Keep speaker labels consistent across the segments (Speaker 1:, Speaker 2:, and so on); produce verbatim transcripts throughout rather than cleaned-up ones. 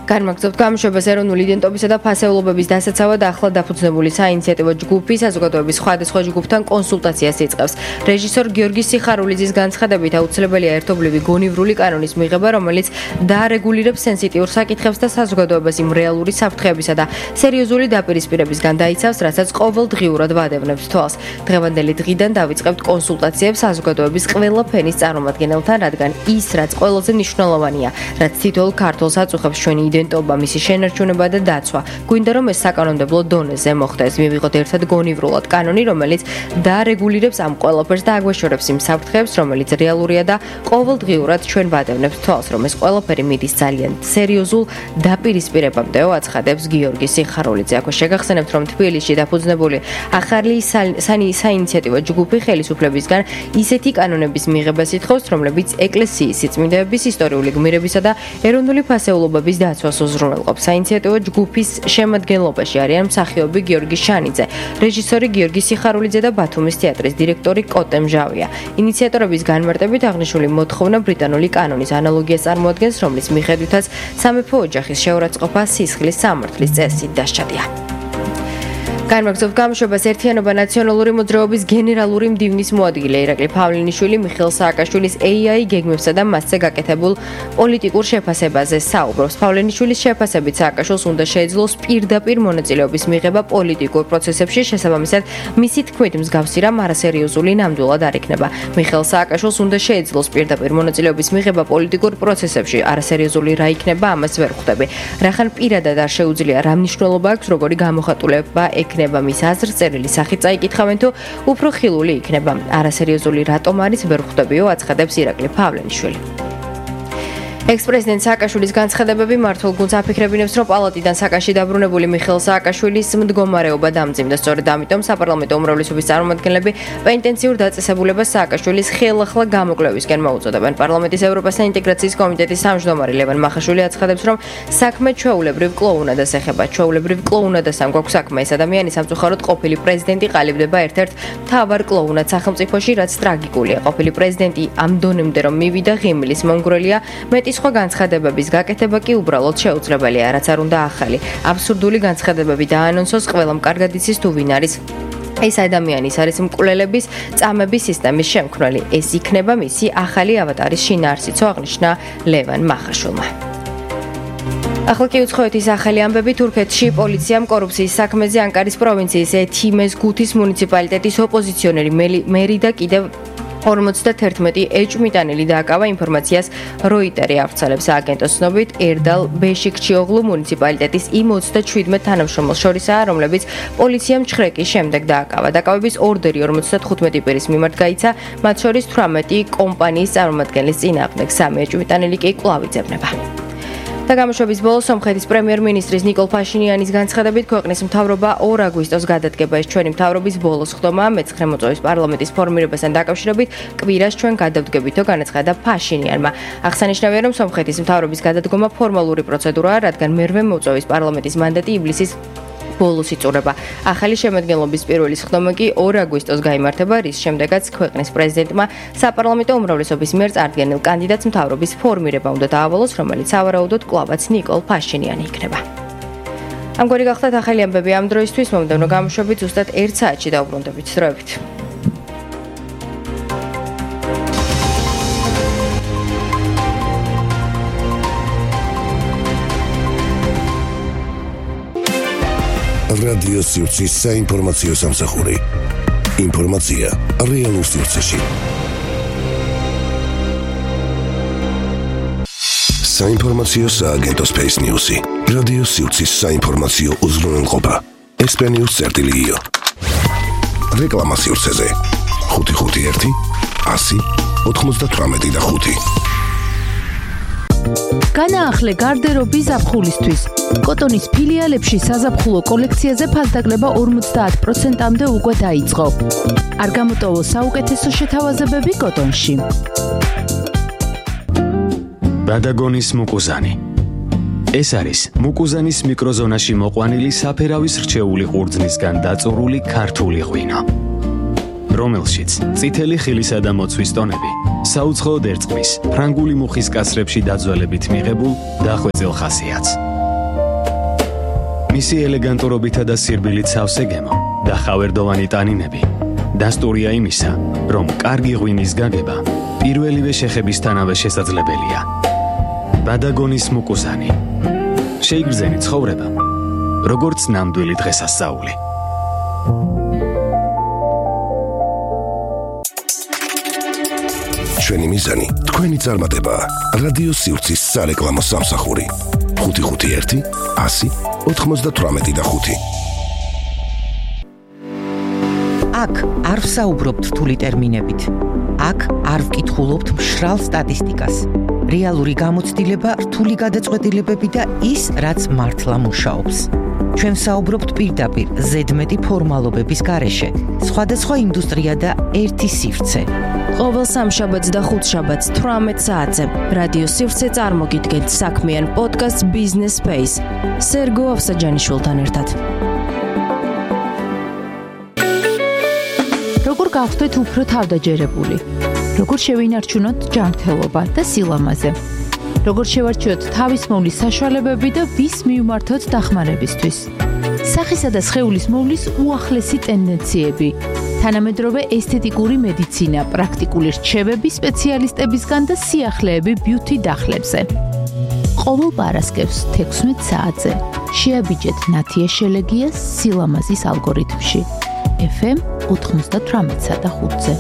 Speaker 1: განმაგრძობთ გამოშვებას ეროვნული იდენტობისა და ფასეულობების დასაცავად ახლა დაფუძნებული საინიციატივო ჯგუფი საზოგადოების სხვადასხვა ჯგუფთან კონსულტაციას იწყებს. რეჟისორ გიორგი სიხარულიძის განცხადებით აუცილებელია ერთობლივი გონივრული კანონის მიღება, რომელიც დაარეგულირებს სენსიტიურ საკითხებს და საზოგადოებას იმ რეალური საფრთხეებისა და სერიოზული დაპირისპირებისგან დაიცავს, რასაც ყოველდღიურად ვადევნებს თვალს. დღევანდელი დღიდან დავიწყებთ კონსულტაციებს საზოგადოების ყველა ფენის წარმომადგენელთან, რადგან ის, რაც ყველაზე მნიშვნელოვანია, რაც თითოეულ ქართველს აწუხებს ჩვენი იდენტობა, მისი შენარჩუნება და დაცვა. გვინდა რომ ეს საკანონმდებლო დონეზე მოხდეს. მივიღოთ ერთად გონივრულად კანონი, რომელიც დაარეგულირებს ამ ყველაფერს და აგვეშორებს იმ საფრთხეებს, რომელიც რეალურია და ყოველდღიურად ჩვენ ვადევნებს თვალს, რომ ეს ყველაფერი მიდის ძალიან სერიოზულ დაპირისპირებამდეო, აცხადებს გიორგი სიხარულიძე. აქვე შეგახსენებთ, რომ თბილისში დაფუძნებული ახალი საინიციატივო ჯგუფი ხელისუფლებისგან ისეთი კანონების მიღებას ითხოვს, რომლებიც ეკლესიის სიწმინდეების, ისტორიული გმირებისა და ეროვნული ფასეულობების დაცვას უზრუნველყოფს. საინიციატივო ჯგუფის შემადგენლობაში არიან მსახიობი გიორგი შანიძე, რეჟისორი გიორგი სიხარულიძე და ბათუმის თეატრის დირექტორი კოტე მჟავია. ინიციატორების განმარტებით აღნიშნული მოთხოვნა ბრიტანული კანონის ანალოგიას წარმოადგენს, რომლის მიხედვითაც სამეფო ოჯახის შეურაცხყოფა სისხლის სამართლის წესით დასჭადია. განმაგრძობთ გამოშვებას ერთიანობა ნაციონალური მოძრაობის გენერალური მდივნის მოადგილე ირაკლი ფავლენიშვილი მიხეილ სააკაშვილის ეი აი გეგმებსა და მასზე გაკეთებულ პოლიტიკურ შეფასებაზე საუბრობს. ფავლენიშვილის შეფასებით სააკაშვილს უნდა შეეძლოს პირდაპირ მონაწილეობის მიღება პოლიტიკურ პროცესებში, შესაბამისად მისი თქმით მსგავსი რამ არასერიოზული ნამდვილად არ იქნება. მიხეილ სააკაშვილს უნდა შეეძლოს პირდაპირ მონაწილეობის მიღება პოლიტიკურ პროცესებში, არასერიოზული რა იქნება, ამას ვერ ხვდები. რახან პირადად არ შეუძლია რა მნიშვნელობა აქვს, როგორი გამოხატულება ექნება მის აზრს წერილი სახით წაიკითხავენ თუ უფრო ხილული იქნება. არასერიოზული რატომ არის ვერ ხვდებიო, აცხადებს ირაკლი ფავლენიშვილი. ექს-პრეზიდენტ სააკაშვილის განცხადებები მართულ გუნდს აფიქრებინებს, რომ პალატიდან საკაში დაბრუნებული მიხეილ სააკაშვილის მდგომარეობა დამძიმდა. სწორედ ამიტომ საპარლამენტო უმრავლესობის წარმომადგენლები პენტენციურ დაწესებულებას სააკაშვილის ხელახლა გამოკვლევისკენ მოუწოდებენ. პარლამენტის ევროპასა ინტეგრაციის კომიტეტის თავმჯდომარე ლევან მახაშვილი აცხადებს, რომ საქმე ჩვეულებრივ კლოუნადას ეხება. ჩვეულებრივ კლოუნადასთან გვაქვს საქმე. ეს ადამიანი სამწუხაროდ ყოფილი პრეზიდენტი ყალიბდება ერთ-ერთ მთავარ კლოუნად სახელმწიფოში, რაც ტრაგიკულია. ყოფილი პრეზიდენტი ამ დონემდე რომ მივიდა ღიმილის მონგრელია, მეტი სხვა განცხადებების გაკეთება კი უბრალოდ შეუძლებელია, რაც არ უნდა ახალი. აბსურდული განცხადებები დაანონსოს, ყველამ კარგად იცის თუ ვინ არის ეს ადამიანი. ის არის მკვლელების წამების სისტემის შემქმნელი. ეს იქნება მისი ახალი ავატარის შინაარსიც, აღნიშნა ლევან მახაშვილმა. ახლა კი უცხოეთის ახალი ამბები. თურქეთში პოლიციამ კორუფციის საქმეზე ანკარის პროვინციის ეთიმეს გუთის მუნიციპალიტეტის ოპოზიციონერი მერი და კიდევ ორმოცდაერთმეტი ეჭვმიტანილი დააკავა. ინფორმაციას როიტერი ავრცელებს. სააგენტოს ცნობით, ერდალ ბეშიქჩიოღლუ მუნიციპალიტეტის იმ ოცდაშვიდმეტ თანამშრომელს შორისაა, რომლებიც პოლიციამ ჩხრეკის შემდეგ დააკავა. დაკავების ორდერი ორმოცდათხუთმეტი პირის მიმართ გაიცა, მათ შორის თვრამეტი კომპანიის წარმომადგენლის წინააღმდეგ. სამი ეჭვმიტანილი კი კვლავ იძებნება. და გამოშვების ბოლოს სომხეთის პრემიერ-მინისტრის ნიკოლ ფაშინიანის განცხადებით, ქვეყნის მთავრობა ორ აგვისტოს გადადგება. ეს ჩვენი მთავრობის ბოლოს ხდომაა. მეცხრე მოწვევის პარლამენტის ფორმირებასთან დაკავშირებით კვირას ჩვენ გადავდგებითო განაცხადა ფაშინიანმა. აღსანიშნავია, რომ სომხეთის მთავრობის გადადგომა ფორმალური პროცედურაა, რადგან მერვე მოწვევის პარლამენტის მანდატი ივლისის ბოლოს იწურება. ახალი შემადგენლობის პირველი სხდომა კი ორ აგვისტოს გაიმართება, რის შემდეგაც ქვეყნის პრეზიდენტმა საპარლამენტო უმრავლესობის მიერ წარდგენილ კანდიდატს მთავრობის ფორმირება უნდა დაავალოს, რომელიც სავარაუდოდ კვლავაც ნიკოლ ფაშინიანი იქნება. ამგვარი გახლდათ ახალი ამბები ამ დროისთვის. მომდევნო გამოშვებით ზუსტად ერთ საათში დავბრუნდებით. დროებით.
Speaker 2: რადიო სივრცის საინფორმაციო სამსახური. ინფორმაცია რეალურ სივრცეში. საინფორმაციო სააგენტო Space News-ი. რადიო სივრცის საინფორმაციო უზრუნველყოფა. ესპენიუს წერტილიო. რეკლამა სივრცეზე. ხუთი ხუთი ერთი ასი ოთხმოცდათვრამეტი და ხუთი.
Speaker 3: განაახლე გარდერობი ზაფხულისთვის. კოტონის ფილიალებში საზაფხულო კოლექციაზე ფასდაკლება ორმოცდაათ პროცენტამდე უკვე დაიწყო. არ გამოტოვო საუკეთესო შეთავაზებები კოტონში.
Speaker 4: ბადაგონის მუკუზანი. ეს არის მუკუზანის მიკროზონაში მოყვანილი საფერავის რჩეული ყურძნისგან დაწურული ქართული ღვინო, რომელშიც წითელი ხილისა და მოცვის ტონები საუცხოოდ ერწყმის ფრანგული მუხის კასრებში დაძველებით მიღებულ დახვეწილ ხასიათს. მისი ელეგანტურობითა და სირბილით სავსე გემო და ხავერდოვანი ტანინები დასტურია იმისა, რომ კარგი ღვინის გაგება პირველივე შეხებისთანავე შესაძლებელია. ბადაგონის მუკუზანი. შეიგრძენი ცხოვრება, როგორც ნამდვილი დღესასწაული.
Speaker 2: ჩვენი მიზანი, თქვენი წარმატება. რადიო სივრცის სარეკლამო სამსახური. ხუთი ხუთი ერთი ასი ოთხმოცდათვრამეტი და ხუთი.
Speaker 5: აქ არ ვსაუბრობთ რთული ტერმინებით. აქ არ ვკითხულობთ მშრალ სტატისტიკას. რეალური გამოცდილება, რთული გადაწყვეტილებები და ის, რაც მართლა მუშაობს. ჩვენ ვსაუბრობთ პირდაპირ ზედმეტი ფორმალობების გარეშე. სხვადასხვა ინდუსტრია და ერთი სივრცე.
Speaker 3: ყოველ სამშაბათს და ხუთშაბათს თვრამეტ საათზე რადიო სივრცე წარმოგიდგენთ საქმიან პოდკასტს Business Space. სერგო ავსაჯანიშვილთან ერთად. როგორ გავხდეთ უფრო თავდაჯერებული? როგორ შევინარჩუნოთ ჯანმრთელობა და სილამაზე? როგორ შევარჩიოთ თავის მოვლის საშუალებები და ვის მივმართოთ დახმარებისთვის? სახისა და სხეულის მოვლის უახლესი ტენდენციები. თანამედროვე ესთეტიკური მედიცინა, პრაქტიკული რჩევები სპეციალისტებისგან და სიახლეები ბიუთი დახლებზე. ყოველ პარასკევს თექვსმეტ საათზე შეაბიჯეთ ნათია შელეგიას სილამაზის ალგორითმში. ეფ ემ ოთხმოცდათვრამეტსა და ხუთზე.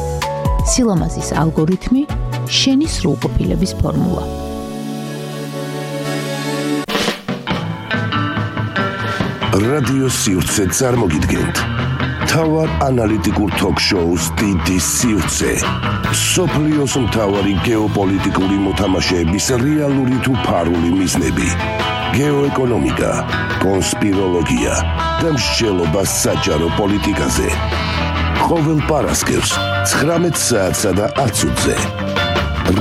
Speaker 3: სილამაზის ალგორითმი, შენი სრულყოფილების ფორმულა.
Speaker 2: რადიო სივრცე წარმოგიდგენთ მთავარ ანალიტიკურ თოქ-შოუს დიდი სივრცე. სოფლიოს მთავარი გეოპოლიტიკური მოთამაშეების რეალური თუ ფარული მიზნები. გეოეკონომიკა, კონსპიროლოგია და მსჯელობა საჯარო პოლიტიკაზე. ყოველ პარასკევს ცხრამეტ საათსა და ათზე.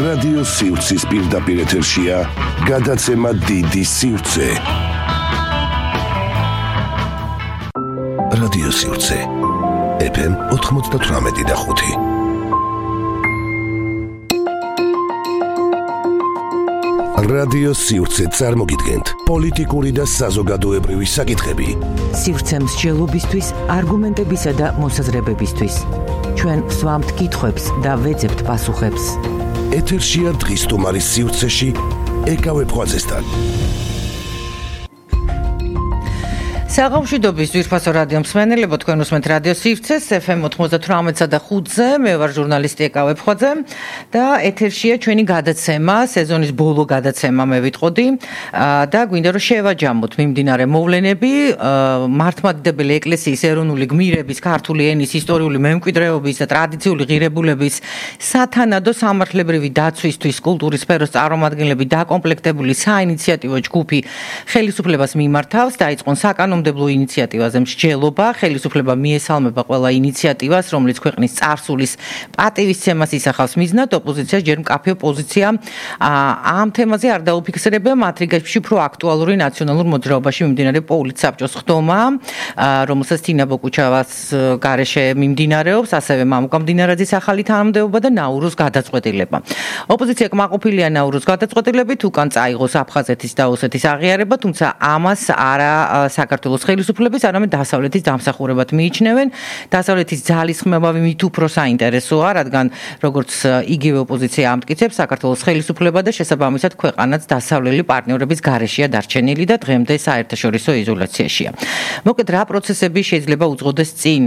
Speaker 2: რადიო სივრცის პირდაპირ ეთერშია გადაცემა დიდი სივრცე. რადიო სივრცე ეფ ემ ოთხმოცდათვრამეტი და ხუთი. რადიო სივრცე წარმოგიდგენთ პოლიტიკური და საზოგადოებრივი საკითხები.
Speaker 5: სივრცე მსჯელობისთვის, არგუმენტებისა და მოსაზრებებისთვის. ჩვენ ვსვამთ კითხვებს და ვეძებთ პასუხებს.
Speaker 2: ეთერშია დღის სტუმარის სივრცეში ეკავე ფღვაწესთან.
Speaker 5: საღამოშვიდობის ძვირფასო რადიო მსმენელებო, თქვენ უსმენთ რადიო სივრცეს ეფ ემ ოთხმოცდათვრამეტსა და ხუთზე. მე ვარ ჟურნალისტი ეკავე ფხვაძე და ეთერშია ჩვენი გადაცემა, სეზონის ბოლო გადაცემა მე ვიტყოდი და გვინდა რომ შევაჯამოთ მიმდინარე მოვლენები მართლმადიდებელი ეკლესიის ეროვნული გმირების, ქართული ენის ისტორიული მემკვიდრეობის და ტრადიციული ღირებულების სათანადო სამართლებრივი დაცვისთვის კულტურის სფეროს წარმომადგენლები დაკომპლექტებული საინიციატივო ჯგუფი ხელისუფლებას მიმართავს. დაიწყონ საკანონმდებლო ინიციატივაზე მსჯელობა. ხელისუფლება მიესალმება ყველა ინიციატივას, რომელიც ქვეყნის წარსულის პატივისცემას ისახავს მიზნად. ოპოზიცია ჯერ მკაფიო პოზიცია ამ თემაზე არ დაუფიქსირებია. მათ რიგებში უფრო აქტუალური ნაციონალურ მოძრაობაში მიმდინარე პოლიტსაბჭოს ხდომა, რომელსაც თინა ბოკუჩავას გარეშე მიმდინარეობს, ასევე მამუკა მდინარაძის ახალი თანამდებობა და ნაურუს გადაწყვეტილება. ოპოზიცია კმაყოფილია ნაურუს გადაწყვეტილებით, უკან წაიღოს აფხაზეთის და ოსეთის აღიარება, თუმცა ამას არა საქართველოს ხელისუფლების, არამედ დასავლეთის დამსახურებად მიიჩნევენ. დასავლეთის ძალისხმევები მით უფრო საინტერესოა, რადგან როგორც იგივე ოპოზიცია ამტკიცებს, საქართველოს ხელისუფლება და შესაბამისად ქვეყანაც დასავლელი პარტნიორების გარეშეა დარჩენილი და დღემდე საერთაშორისო იზოლაციაშია. მოკლედ, რა პროცესები შეიძლება უძღოდეს წინ,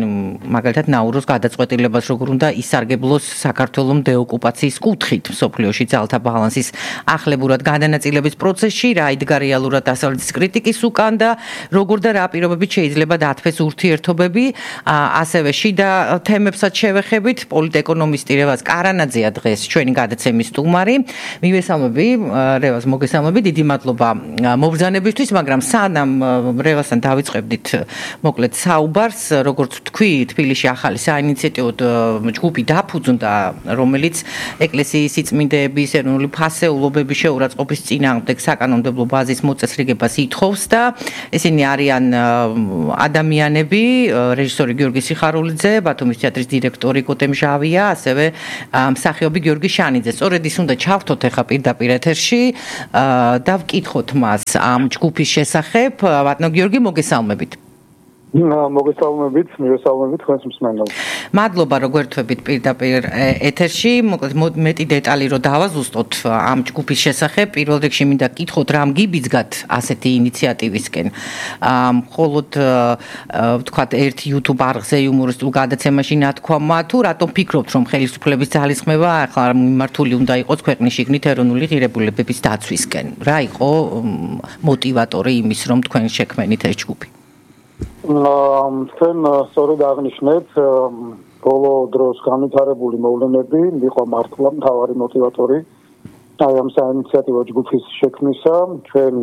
Speaker 5: მაგალითად ნაურუს გადაწყვეტილებას, როგორ უნდა ისარგებლოს საქართველოს დეოკუპაციის კუთხით მსოფლიოში ძალთა ბალანსის ახლებურად გადანაწილების პროცესში, რა იდგა რეალურად დასავლეთის კრიტიკის უკან და როგორ და რა პირობებით შეიძლება დათვეს ურთიერთობები, ასევე შიდა თემებსაც შევეხებით. პოლიტეკონომისტი რევაზ კარანაძეა დღეს ჩვენი გადაცემის სტუმარი. მივესალმები რევაზ, მოგესალმები, დიდი მადლობა მობრძანებისთვის, მაგრამ სანამ რევაზთან დავიწყებდით მოკლედ საუბარს, როგორც თქვი, თბილისში ახალი საინიციატივო ჯგუფი დაფუძნდა, რომელიც ეკლესიის სიწმინდეების ეროვნული ფასეულობების შეურაცხყოფის წინააღმდეგ საკანონმდებლო ბაზის მოწესრიგებას ითხოვს და ისინი არიან ადამიანები, რეჟისორი გიორგი სიხარულიძე, ბათუმის თეატრის დირექტორი კოტე მჟავია, ასევე მსახიობი გიორგი შანიძე. სწორედ ის უნდა ჩავთოთ ახლა პირდაპირ ეთერში და ვკითხოთ მას ამ ჯგუფის შესახებ. ბატონო გიორგი, მოგესალმებით.
Speaker 6: მოგესალმებით, მოგესალმებით თქვენს მსმენელს.
Speaker 5: მადლობა რომ გვერდთვებით პირდაპირ ეთერში. მოკლედ მეტი დეტალი რომ დავაზუსტოთ ამ ჯგუფის შესახებ. პირველ რიგში მინდა გკითხოთ, რამ გიბიძგათ ასეთი ინიციატივისკენ. მხოლოდ ვთქვათ, ერთ YouTube არხზე იუმორისტულ გადაცემაში ნათქვამა, თუ რატომ ფიქრობთ, რომ ხელისუფლების ძალისხმევა ახლა მიმართული უნდა იყოს ქვეყნის შიგნით ეროვნული ღირებულებების დაცვისკენ? რა იყო მოტივატორი იმის, რომ თქვენ შექმნით ეს ჯგუფი?
Speaker 6: თქვენ სწორედ აღნიშნეთ, ბოლო დროს განვითარებული მოვლენები იყო მართლა მთავარი მოტივატორი აი ამ საინიციატივო ჯგუფის შექმნისა. ჩვენ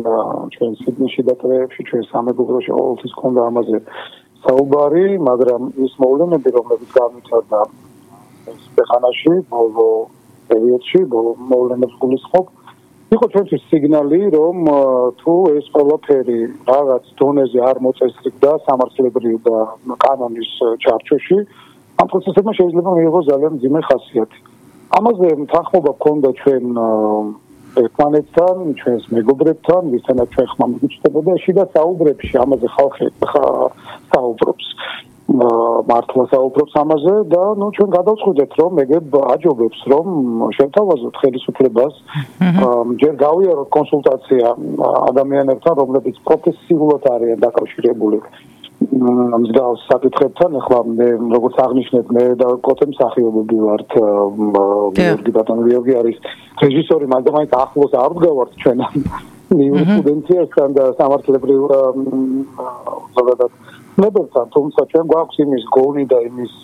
Speaker 6: ჩვენ სიდნეში და ტრეებში ჩვენ სამეგობროში ყოველთვის ჰქონდა ამაზე საუბარი, მაგრამ ის მოვლენები, რომლებიც განვითარდა ეს ქვეყანაში ბოლო პერიოდში, ბოლო მოვლენებს გულისხმობ, იყო ჩვენთვის სიგნალი, რომ თუ ეს ყველაფერი რაღაც დონეზე არ მოწესრიგდა სამართლებრივ და კანონის ჩარჩოში, ამ პროცესებმა შეიძლება მიიღოს ძალიან მძიმე ხასიათი. ამაზე თანხმობა გქონდა ჩვენ ერთმანეთთან, ჩვენს მეგობრებთან, ვისთანაც ჩვენ ხმა მიგიჩნდებოდა შიდა საუბრებში, ამაზე ხალხი საუბრობს. მართლა საუბრობს ამაზე და ნუ ჩვენ გადავწყვიტეთ, რომ ეგებ აჯობებს, რომ შევთავაზოთ ხელისუფლებას, ჯერ გავიაროთ კონსულტაცია ადამიანებთან, რომლებიც პროფესიულად არიან დაკავშირებული მსგავს საკითხებთან. ახლა მე როგორც აღნიშნეთ, მე და კოტე მსახიობები ვართ, გიორგი ბატონო გიორგი არის რეჟისორი, მაგრამ მაინც ახლოს არ ვდგავართ ჩვენ იურისპრუდენციასთან და სამართლებრივ ზოგადად ნებებთან, თუმცა ჩვენ გვაქვს იმის გონი და იმის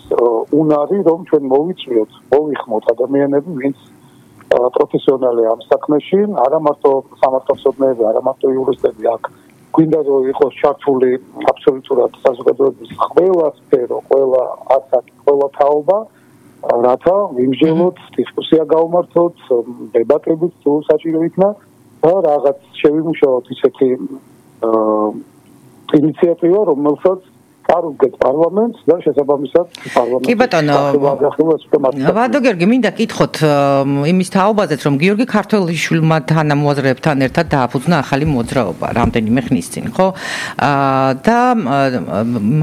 Speaker 6: უნარი, რომ ჩვენ მოვიწვიოთ, მოვიხმოთ ადამიანები, ვინც პროფესიონალია ამ საქმეში, არა მარტო სამართალმცოდნეები, არა მარტო იურისტები აქ. გვინდა რომ იყოს ჩართული აბსოლუტურად საზოგადოების ყველა სფერო, ყველა ასაკი, ყველა თაობა, რათა ვიმსჯელოთ, დისკუსია გავმართოთ, დებატებით თუ საჭირო იქნა და რაღაც შევიმუშაოთ ისეთი ინიციატივა, რომელსაც წარუდგეთ პარლამენტს და შესაბამისად პარლამენტი.
Speaker 5: კი ბატონო, ბატონო გიორგი, მინდა გკითხოთ იმის თაობაზეც, რომ გიორგი ქართველიშვილმა თანამოაზრეებთან ერთად დააფუძნა ახალი მოძრაობა რამდენიმე ხნის წინ, ხო? და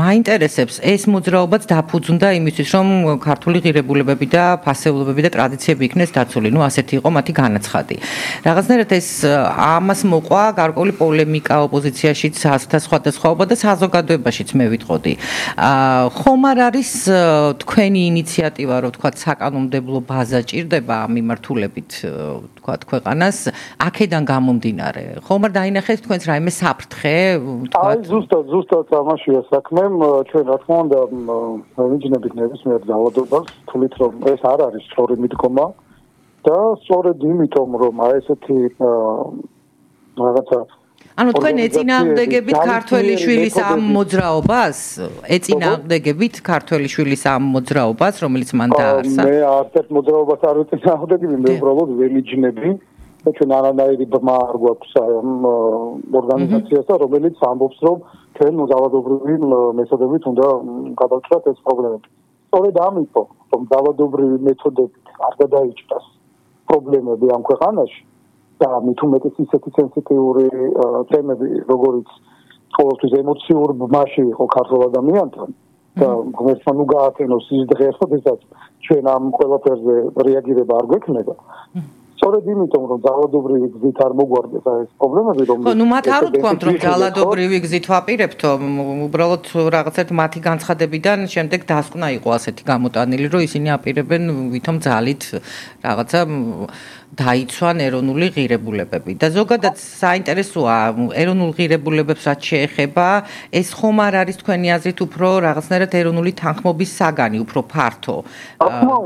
Speaker 5: მაინტერესებს ეს მოძრაობაც დაფუძნდა იმისთვის, რომ ქართული ღირებულებები და ფასეულობები და ტრადიციები იქნეს დაცული. ნუ ასეთი იყო მათი განაცხადი. რაღაცნაირად ეს ამას მოყვა გარკვეული პოლემიკა ოპოზიციაშიც და სხვადასხვაობა და საზოგადოებაშიც მე ვიტყოდი. ხომ არ არის თქვენი ინიციატივა, რომ თქვა საკანონმდებლო ბაზა ჭირდება ამ მიმართულებით, თქვა ქვეყანას აქედან გამომდინარე? ხომ არ დაინახეთ თქვენს რაიმე საფრთხე, თქვა?
Speaker 6: აი ზუსტად, ზუსტად ამაშია საქმე. ჩვენ რა თქმა უნდა მივიძნებით ნებისმიერ ძალადობას, თulit რომ ეს არ არის სწორი მიდგომა და სწორედ იმიტომ, რომ აი ესეთი რაღაცა
Speaker 5: ანუ თქვენ ეწინააღმდეგებით ქართველიშვილის ამ მოძრაობას? ეწინააღმდეგებით ქართველიშვილის ამ მოძრაობას, რომელიც მან დაარსა?
Speaker 6: მე არც მოძრაობას არ ვეწინააღმდეგები, მე უბრალოდ ველიჯნები და ჩვენ არანაირი ბმა არ გვაქვს ამ ორგანიზაციასთან, რომელიც ამბობს, რომ ჩვენ ძალადობრივი მეთოდებით უნდა გადავჭრათ ეს პრობლემები. სწორედ ამიტომ, რომ ძალადობრივი მეთოდებით არ გადაიჭრას პრობლემები ამ ქვეყანაში და მით უმეტეს ისეთი სენსიტიური თემები, როგორიც ყოველთვის ემოციურ ბმაში იყო ქართულ ადამიანთან და ღმერთმა ნუ გაათენოს ის დღე, როდესაც ჩვენ ამ ყველაფერზე რეაგირება არ გვექნება. სწორედ იმიტომ, რომ ძალადობრივი გზით არ მოგვარდეს ეს პრობლემები, რომ
Speaker 5: ხო, ნუ მათ არ უთქვამთ, რომ ძალადობრივი გზით ვაპირებთ, უბრალოდ რაღაცეთ მათი განცხადებიდან შემდეგ დასკვნა იყო ასეთი გამოტანილი, რომ ისინი აპირებენ ვითომ ძალით რაღაცა დაიცვან ეროვნული ღირებულებები. და ზოგადად საინტერესოა ეროვნულ ღირებულებებს რაც შეეხება, ეს ხომ არ არის თქვენი აზრით უფრო რაღაცნაირად ეროვნული თანხმობის საგანი, უფრო ფართო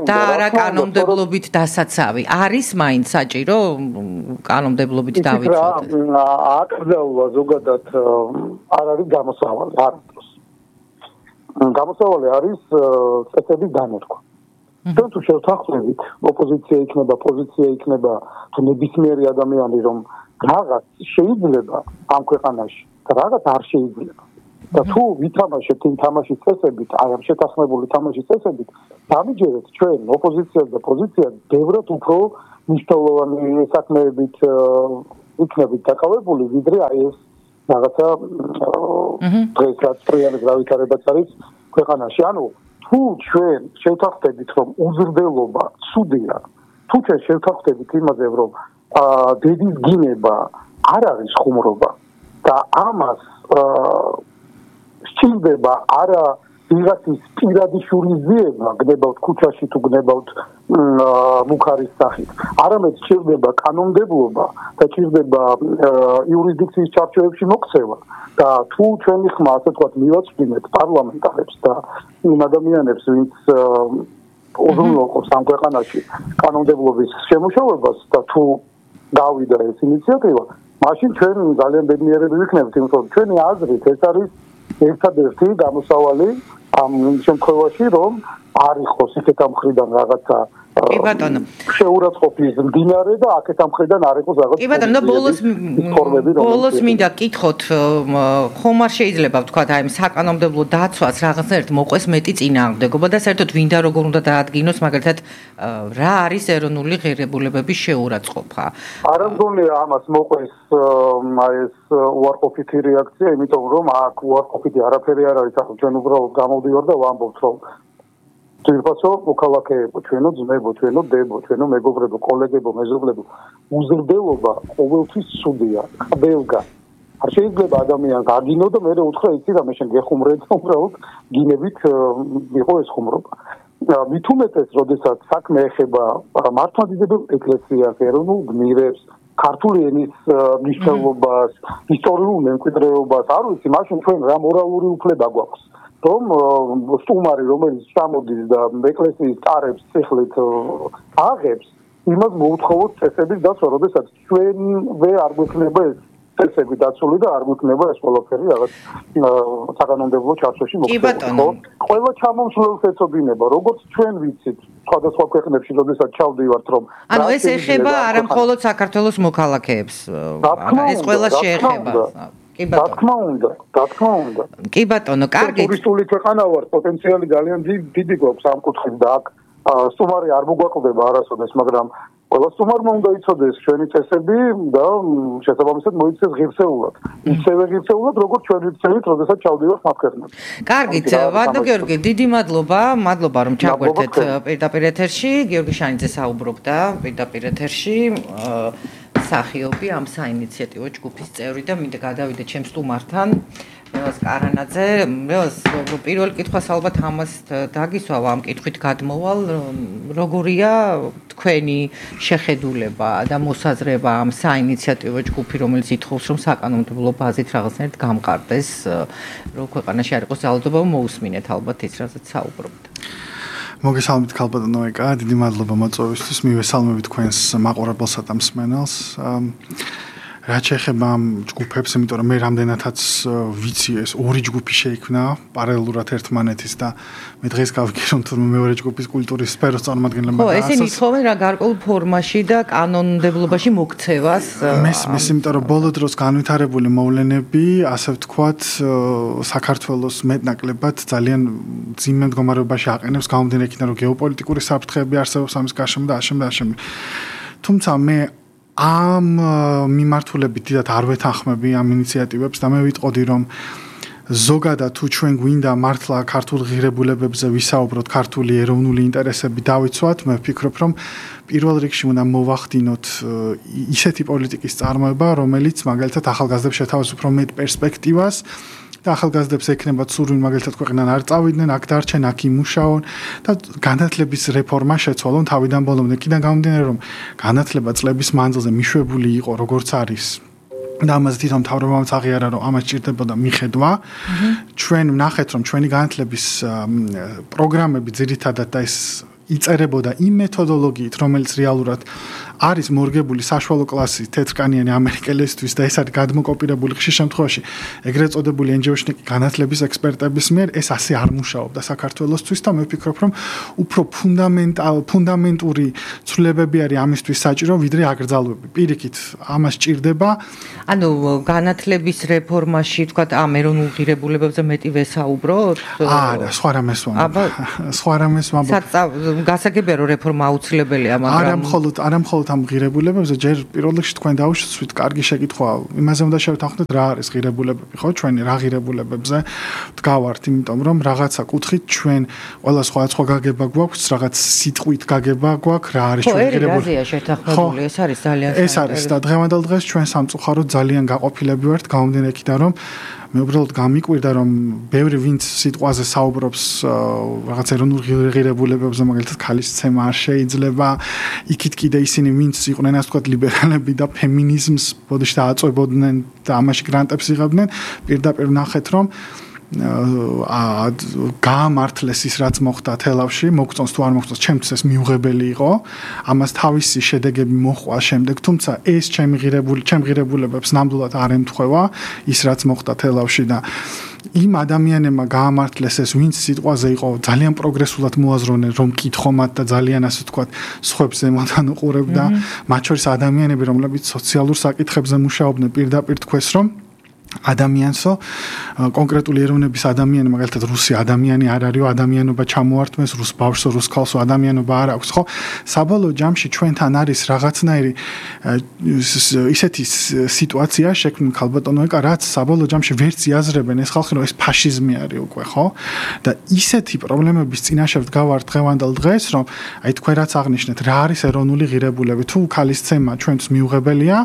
Speaker 5: და არა კანონმდებლობით დასაცავი. არის მაინც საჭირო კანონმდებლობით დავიცვათ?
Speaker 6: აკრძალვა ზოგადად არ არის გამოსავალი, არ არის. გამოსავალი არის წესების დანერგვა. ჩვენ თუ შევთანხმებით, ოპოზიცია იქნება, პოზიცია იქნება, თუ ნებისმიერი ადამიანი, რომ რაღაც შეიძლება ამ ქვეყანაში და რაღაც არ შეიძლება. და თუ ვითამაშებთ იმ თამაშის წესებით, აი ამ შეთანხმებული თამაშის წესებით, დამიჯერეთ ჩვენ ოპოზიციას და პოზიციას ბევრად უფრო მნიშვნელოვანი საქმეებით იქნებით დაკავებული, ვიდრე აი ეს რაღაცა დღეს რაც პრიანის გავითარებაც არის ქვეყანაში. ანუ თუ ჩვენ შევთანხმდებით, რომ უზრდელობა ცუდია, თუ ჩვენ შევთანხმდებით იმაზე, რომ დედის გინება არ არის ხუმრობა და ამას სჭირდება არა ვიღაცის პირადი შურიზიება, გნებავთ ქუჩაში თუ გნებავთ მუხარის სახით, არამედ სჭირდება კანონმდებლობა და სჭირდება იურისდიქციის ჩარჩოებში მოქცევა და თუ ჩვენი ხმა ასე ვთქვათ მივაწვდინეთ პარლამენტარებს და იმ ადამიანებს, ვინც უზრუნველყოფს ამ ქვეყანაში კანონმდებლობის შემუშავებას და თუ გავიდა ეს ინიციატივა, მაშინ ჩვენ ძალიან ბედნიერები ვიქნებით, იმიტომ რომ ჩვენი აზრით ეს არის ერთადერთი გამოსავალი ამ შემთხვევაში, რომ არ იყოს იქეთ ამ მხრიდან რაღაცა
Speaker 5: კი ბატონო
Speaker 6: შეურაცხყოფის მდინარე და აქეთ ამ მხრიდან არ იყოს რაღაც
Speaker 5: კი ბატონო ბოლოს ბოლოს მინდა კითხოთ ხომ არ შეიძლება ვთქვათ აი საკანონმდებლო დაცვას რაღაცნაირად მოყვეს მეტი წინააღმდეგობა და საერთოდ ვინდა როგორ უნდა დაადგინოს მაგალითად რა არის ეროვნული ღირებულებების შეურაცხყოფა
Speaker 6: არ მგონია ამას მოყვეს აი ეს უარყოფითი რეაქცია იმიტომ რომ აქ უარყოფითი არაფერი არ არის ახლა ჩვენ უბრალოდ გამოვდივარ და ვამბობთ რომ თვითონო მოქალაქეებო, ჩვენო ძმებო, ჩვენო დებო, ჩვენო მეგობრებო, კოლეგებო, მეზობლებო, უზრდელობა ყოველთვის ცუდია, ყველგა. არ შეიძლება ადამიანს აგინო და მე უთხრა იცი რა მე შენ გეხუმრე და უბრალოდ გინებით იყო ეს ხუმრობა. მით უმეტეს, როდესაც საქმე ეხება მართლმადიდებელ ეკლესიას, ეროვნულ გმირებს, ქართული ენის მნიშვნელობას, ისტორიულ მემკვიდრეობას, არ ვიცი, მაშინ ჩვენ რა მორალური უფლება გვაქვს. რომ სტუმარი რომელიც ჩამოდის და ეკლესიის კარებს ციხლით აღებს, იმას მოუთხოვოთ წესების დაცვა, როდესაც ჩვენვე არ გვექნება ეს წესები დაცული და არ გვექნება ეს ყველაფერი რაღაც საკანონმდებლო ჩარჩოში მოხდება. ყველა ჩამომსვლელს ეცოდინება, როგორც ჩვენ ვიცით, სხვადასხვა ქვეყნებში, როდესაც ჩავდივართ, რომ
Speaker 5: ანუ ეს ეხება არა მხოლოდ საქართველოს მოქალაქეებს, ეს ყველა შეეხება. კი ბატონო.
Speaker 6: რა თქმა უნდა, რა თქმა უნდა.
Speaker 5: კი ბატონო, კარგი.
Speaker 6: ტურისტული ქვეყანა ვარ, პოტენციალი ძალიან დიდი გვაქვს ამ კუთხით და აქ სტუმარი არ მოგვაკლდება არასოდეს, მაგრამ ყველა სტუმარმა უნდა იცოდეს ჩვენი წესები და შესაბამისად მოიქცეს ღირსეულად. ისევე ღირსეულად, როგორც ჩვენ ვიცით, როდესაც ჩავდივართ მათ ქვეყნებში.
Speaker 5: კარგით, ვადო გიორგი, დიდი მადლობა, მადლობა რომ ჩაგვერთეთ პირდაპირ ეთერში. გიორგი შანიძე საუბრობდა პირდაპირ ეთერში. სახიობი ამ საინიციატივო ჯგუფის წევრი და მინდა გადავიდე ჩემს სტუმართან მეოს კარანაძე მეოს პირველ კითხვას ალბათ ამას დაგისვავ ამ კითხვით გადმოვალ როგორია თქვენი შეხედულება და მოსაზრება ამ საინიციატივო ჯგუფი რომელიც ითხოვს რომ საკანონმდებლო ბაზით რაღაცნაირად გამყარდეს რომ ქვეყანაში არ იყოს ძალადობა მოусმინეთ ალბათ ის რასაც საუბრობთ
Speaker 7: მოგესალმებით ქალბატონო ეკა, დიდი მადლობა მოწვევისთვის. მივესალმებით თქვენს მაყურებელსა და მსმენელს. რაც შეეხება ამ ჯგუფებს, იმიტომ რომ მე რამდენადაც ვიცი ეს ორი ჯგუფი შეიქმნა პარალელურად ერთმანეთის და მე დღეს გავიგე რომ თურმე მეორე ჯგუფის კულტურის სფეროს წარმომადგენლებმა
Speaker 5: ხო, ესენი ითხოვენ რა გარკვეულ ფორმაში და კანონმდებლობაში მოქცევას.
Speaker 7: მესმის, იმიტომ რომ ბოლო დროს განვითარებული მოვლენები, ასე ვთქვათ, საქართველოს მეტნაკლებად ძალიან ძიმე მდგომარეობაში აყენებს გამომდინარე იქიდან რომ გეოპოლიტიკური საფრთხეები არსებობს ამის გარშემო და ამავე ამავე. თუმცა მე ამ მიმართულებით დიდად არ ვეთანხმები ამ ინიციატივებს და მე ვიტყოდი რომ ზოგადად თუ ჩვენ გვინდა მართლა ქართულ ღირებულებებზე ვისაუბროთ, ქართული ეროვნული ინტერესები დავიცვათ, მე ვფიქრობ რომ პირველ რიგში უნდა მოვახდინოთ ისეთი პოლიტიკის წარმოება, რომელიც მაგალითად ახალგაზრდებს შეთავაზებს უფრო მეტ პერსპექტივას და ახალგაზრდებს ექნებათ სურვილი მაგალითად ქვეყნიდან არ წავიდნენ, აქ დარჩენ, აქ იმუშაონ და განათლების რეფორმა შეცვალონ თავიდან ბოლომდე. იქიდან გამომდინარე რომ განათლება წლების მანძილზე მიშვებული იყო როგორც არის და ამაზე თვითონ მთავრობამაც აღიარა რომ ამას ჭირდებოდა მიხედვა. ჩვენ ვნახეთ რომ ჩვენი განათლების პროგრამები ძირითადად და ეს იწერებოდა იმ მეთოდოლოგიით, რომელიც რეალურად არის მორგებული საშუალო კლასის თეთრკანიანი ამერიკელისთვის და ეს არის გადმოკოპირებული ხშირ შემთხვევაში ეგრეთ წოდებული ენჯიოშნიკი განათლების ექსპერტების მიერ ეს ასე არ მუშაობდა საქართველოსთვის და მე ვფიქრობ რომ უფრო ფუნდამენტალ ფუნდამენტური ცვლილებები არის ამისთვის საჭირო ვიდრე აკრძალვები. პირიქით ამას ჭირდება
Speaker 5: ანუ განათლების რეფორმაში თქვა ამ ეროვნულ ღირებულებებზე მეტი ვესაუბროთ?
Speaker 7: არა, სხვა რამეს ვამბობ. სხვა რამეს ვამბობ.
Speaker 5: გასაგებია რომ რეფორმა აუცილებელია, მაგრამ
Speaker 7: არა მხოლოდ არა მხოლოდ ამ ღირებულებებზე, ჯერ პირველ რიგში თქვენ დაუშვით კარგი შეკითხვაა. იმაზე უნდა შევთანხმდეთ რა არის ღირებულებები, ხო? ჩვენი რა ღირებულებებზე დგავართ, იმიტომ რომ რაღაცა კუთხით ჩვენ ყველა სხვადასხვა გაგება გვაქვს, რაღაც სიტყვით გაგება გვაქვს, რა არის ჩვენი ღირებულება.
Speaker 5: ხო, შეთანხმებული, ეს არის ძალიან საინტერესო.
Speaker 7: ეს არის და დღევანდელ დღეს ჩვენ სამწუხაროდ ძალიან გაყოფილები ვართ, გამომდინარე იქიდან რომ მე უბრალოდ გამიკვირდა რომ ბევრი ვინც სიტყვაზე საუბრობს რაღაც ეროვნულ ღირებულებებზე, მაგალითად ქალისცემა არ შეიძლება, იქით კიდე ისინი ვინც იყვნენ ასე ვთქვათ ლიბერალები და ფემინიზმს ბოდიში დააწვებოდნენ და ამაში გრანტებს იღებდნენ, პირდაპირ ნახეთ რომ გაამართლეს ის რაც მოხდა თელავში, მოგწონს თუ არ მოგწონს, ჩემთვის ეს მიუღებელი იყო. ამას თავისი შედეგები მოჰყვა შემდეგ, თუმცა ეს ჩემი ღირებული, ჩემ ღირებულებებს ნამდვილად არ ემთხვევა ის რაც მოხდა თელავში და იმ ადამიანებმა გაამართლეს ეს, ვინც სიტყვაზე იყო ძალიან პროგრესულად მოაზროვნე, რომ კითხომათ და ძალიან ასე ვთქვათ, სხვებს ზემოდან უყურებდა, მათ შორის ადამიანები, რომლებიც სოციალურ საკითხებზე მუშაობდნენ, პირდაპირ თქვეს, რომ ადამიანსო კონკრეტული ეროვნების ადამიანი მაგალითად რუსი ადამიანი არ არისო ადამიანობა ჩამოართმეს რუს ბავშვსო რუს ქალსო ადამიანობა არ აქვს ხო საბოლოო ჯამში ჩვენთან არის რაღაცნაირი ისეთი სიტუაცია შექმნილი ქალბატონო ეკა რაც საბოლოო ჯამში ვერც იაზრებენ ეს ხალხი რომ ეს ფაშიზმი არის უკვე ხო და ისეთი პრობლემების წინაშე ვდგავართ დღევანდელ დღეს რომ აი თქვენ რაც აღნიშნეთ რა არის ეროვნული ღირებულები თუ ქალისცემა ჩვენთვის მიუღებელია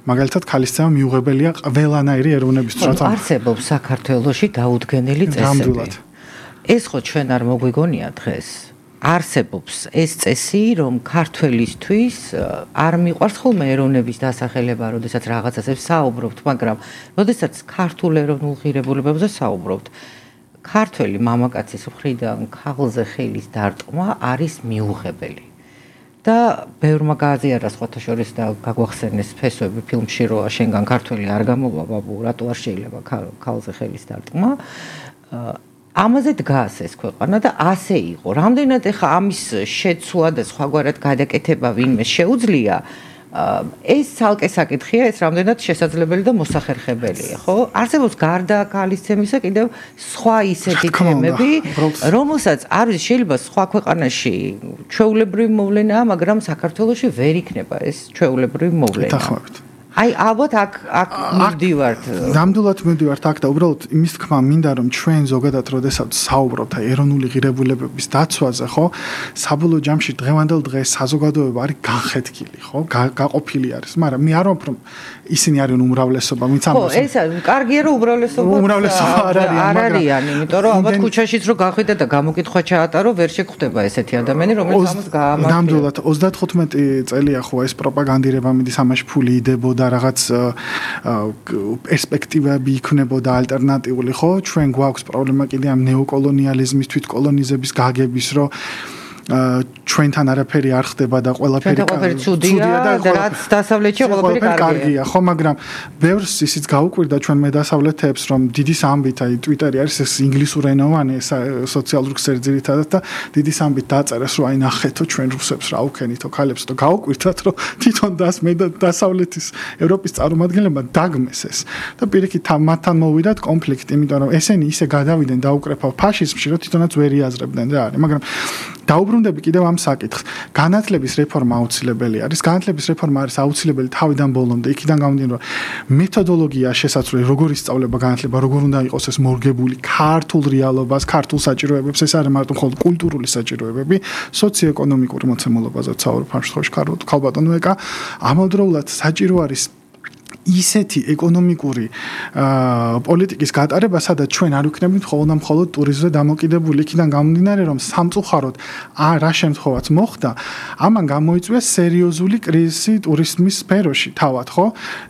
Speaker 7: მაგალითად ქალისცემა მიუღებელია ყველანაირი
Speaker 5: არსებობს საქართველოში დაუდგენელი წესები. ეს ხო ჩვენ არ მოგვიგონია დღეს. არსებობს ეს წესი, რომ ქართველისთვის არ მიყვარს ხოლმე ეროვნების დასახელება, როდესაც რაღაცაზე საუბრობთ, მაგრამ როდესაც ქართულ ეროვნულ ღირებულებებზე საუბრობთ, ქართველი მამაკაცის მხრიდან ქაღლზე ხელის დარტყმა არის მიუღებელი. და ბევრმა გააზიარა სხვათა შორის და გაგვახსენეს ფესვები ფილმში რომ შენგან ქართველი არ გამოვა ბაბუ რატო არ შეიძლება ქალზე ხელის დარტყმა ამაზე დგას ეს ქვეყანა და ასე იყო რამდენად ეხა ამის შეცვლა და სხვაგვარად გადაკეთება ვინმე შეუძლია ეს ცალკე საკითხია ეს რამდენად შესაძლებელი და მოსახერხებელია ხო არსებობს გარდა ქალისცემისა კიდევ სხვა ისეთი თემები რომელსაც არ ვიცი შეიძლება სხვა ქვეყანაში ჩვეულებრივი მოვლენაა მაგრამ საქართველოში ვერ იქნება ეს ჩვეულებრივი მოვლენა აი ალბათ აქ აქ მივდივართ
Speaker 7: ნამდვილად მივდივართ აქ და უბრალოდ იმის თქმა მინდა რომ ჩვენ ზოგადად როდესაც საუბრობთ აი ეროვნული ღირებულებების დაცვაზე ხო საბოლოო ჯამში დღევანდელ დღეს საზოგადოება არის განხეთქილი ხო გაყოფილი არის მაგრამ მე არ ვამბობ რომ ისინი არიან უმრავლესობა ვინც ამბობს
Speaker 5: ხო ეს კარგია რომ უმრავლესობა
Speaker 7: უმრავლესობა არ
Speaker 5: არიან არიან იმიტომ რომ ალბათ ქუჩაშიც რო გახვიდე და გამოკითხვა ჩაატარო ვერ შეგხვდება ესეთი ადამიანი რომელიც ამას გაამართლებს
Speaker 7: ნამდვილად ოცდათხუთმეტი წელია ხო ეს პროპაგანდირება მიდის ამაში ფული იდებოდა რაღაც პერსპექტივები იქნებოდა ალტერნატიული ხო ჩვენ გვაქვს პრობლემა კიდე ამ ნეოკოლონიალიზმის თვითკოლონიზების გაგების რომ ჩვენთან არაფერი არ ხდება და ყველაფერი
Speaker 5: ცუდია და რაც დასავლეთში ყველაფერი
Speaker 7: კარგია ხო მაგრამ ბევრს ისიც გაუკვირდა ჩვენ მე დასავლეთებს რომ დიდი სამბით აი ტვიტერი არის ეს ინგლისურენოვანი სოციალური ქსელი ძირითადად და დიდი სამბით დაწერეს რომ აი ნახეთო ჩვენ რუსებს რა უქენითო ქალებს და გაუკვირდათ რომ თვითონ დას მე დასავლეთის ევროპის წარმომადგენლებმა დაგმეს ეს და პირიქით მათთან მოვიდათ კონფლიქტი იმიტომ რომ ესენი ისე გადავიდნენ დაუკრეფა ფაშიზმში რომ თვითონაც ვერ იაზრებდნენ რა არის მაგრამ დაუბრუნდები კიდევ ამ საკითხს. განათლების რეფორმა აუცილებელი არის. განათლების რეფორმა არის აუცილებელი თავიდან ბოლომდე. იქიდან გამომდინარე, რომ მეთოდოლოგია შესაძლოა როგორ ისწავლება განათლება, როგორ უნდა იყოს ეს მორგებული ქართულ რეალობას, ქართულ საჭიროებებს, ეს არის მარტო მხოლოდ კულტურული საჭიროებები, სოციოეკონომიკური მოცემულობაზე საუბრობ ამ შემთხვევაში ქალბატონო ეკა. ამავდროულად საჭირო არის ისეთი ეკონომიკური პოლიტიკის გატარება, სადაც ჩვენ არ ვიქნებით მხოლოდ და მხოლოდ ტურიზმზე დამოკიდებული. იქიდან გამომდინარე, რომ სამწუხაროდ რა შემთხვევაც მოხდა, ამან გამოიწვია სერიოზული კრიზისი ტურიზმის სფეროში, თავად, ხო?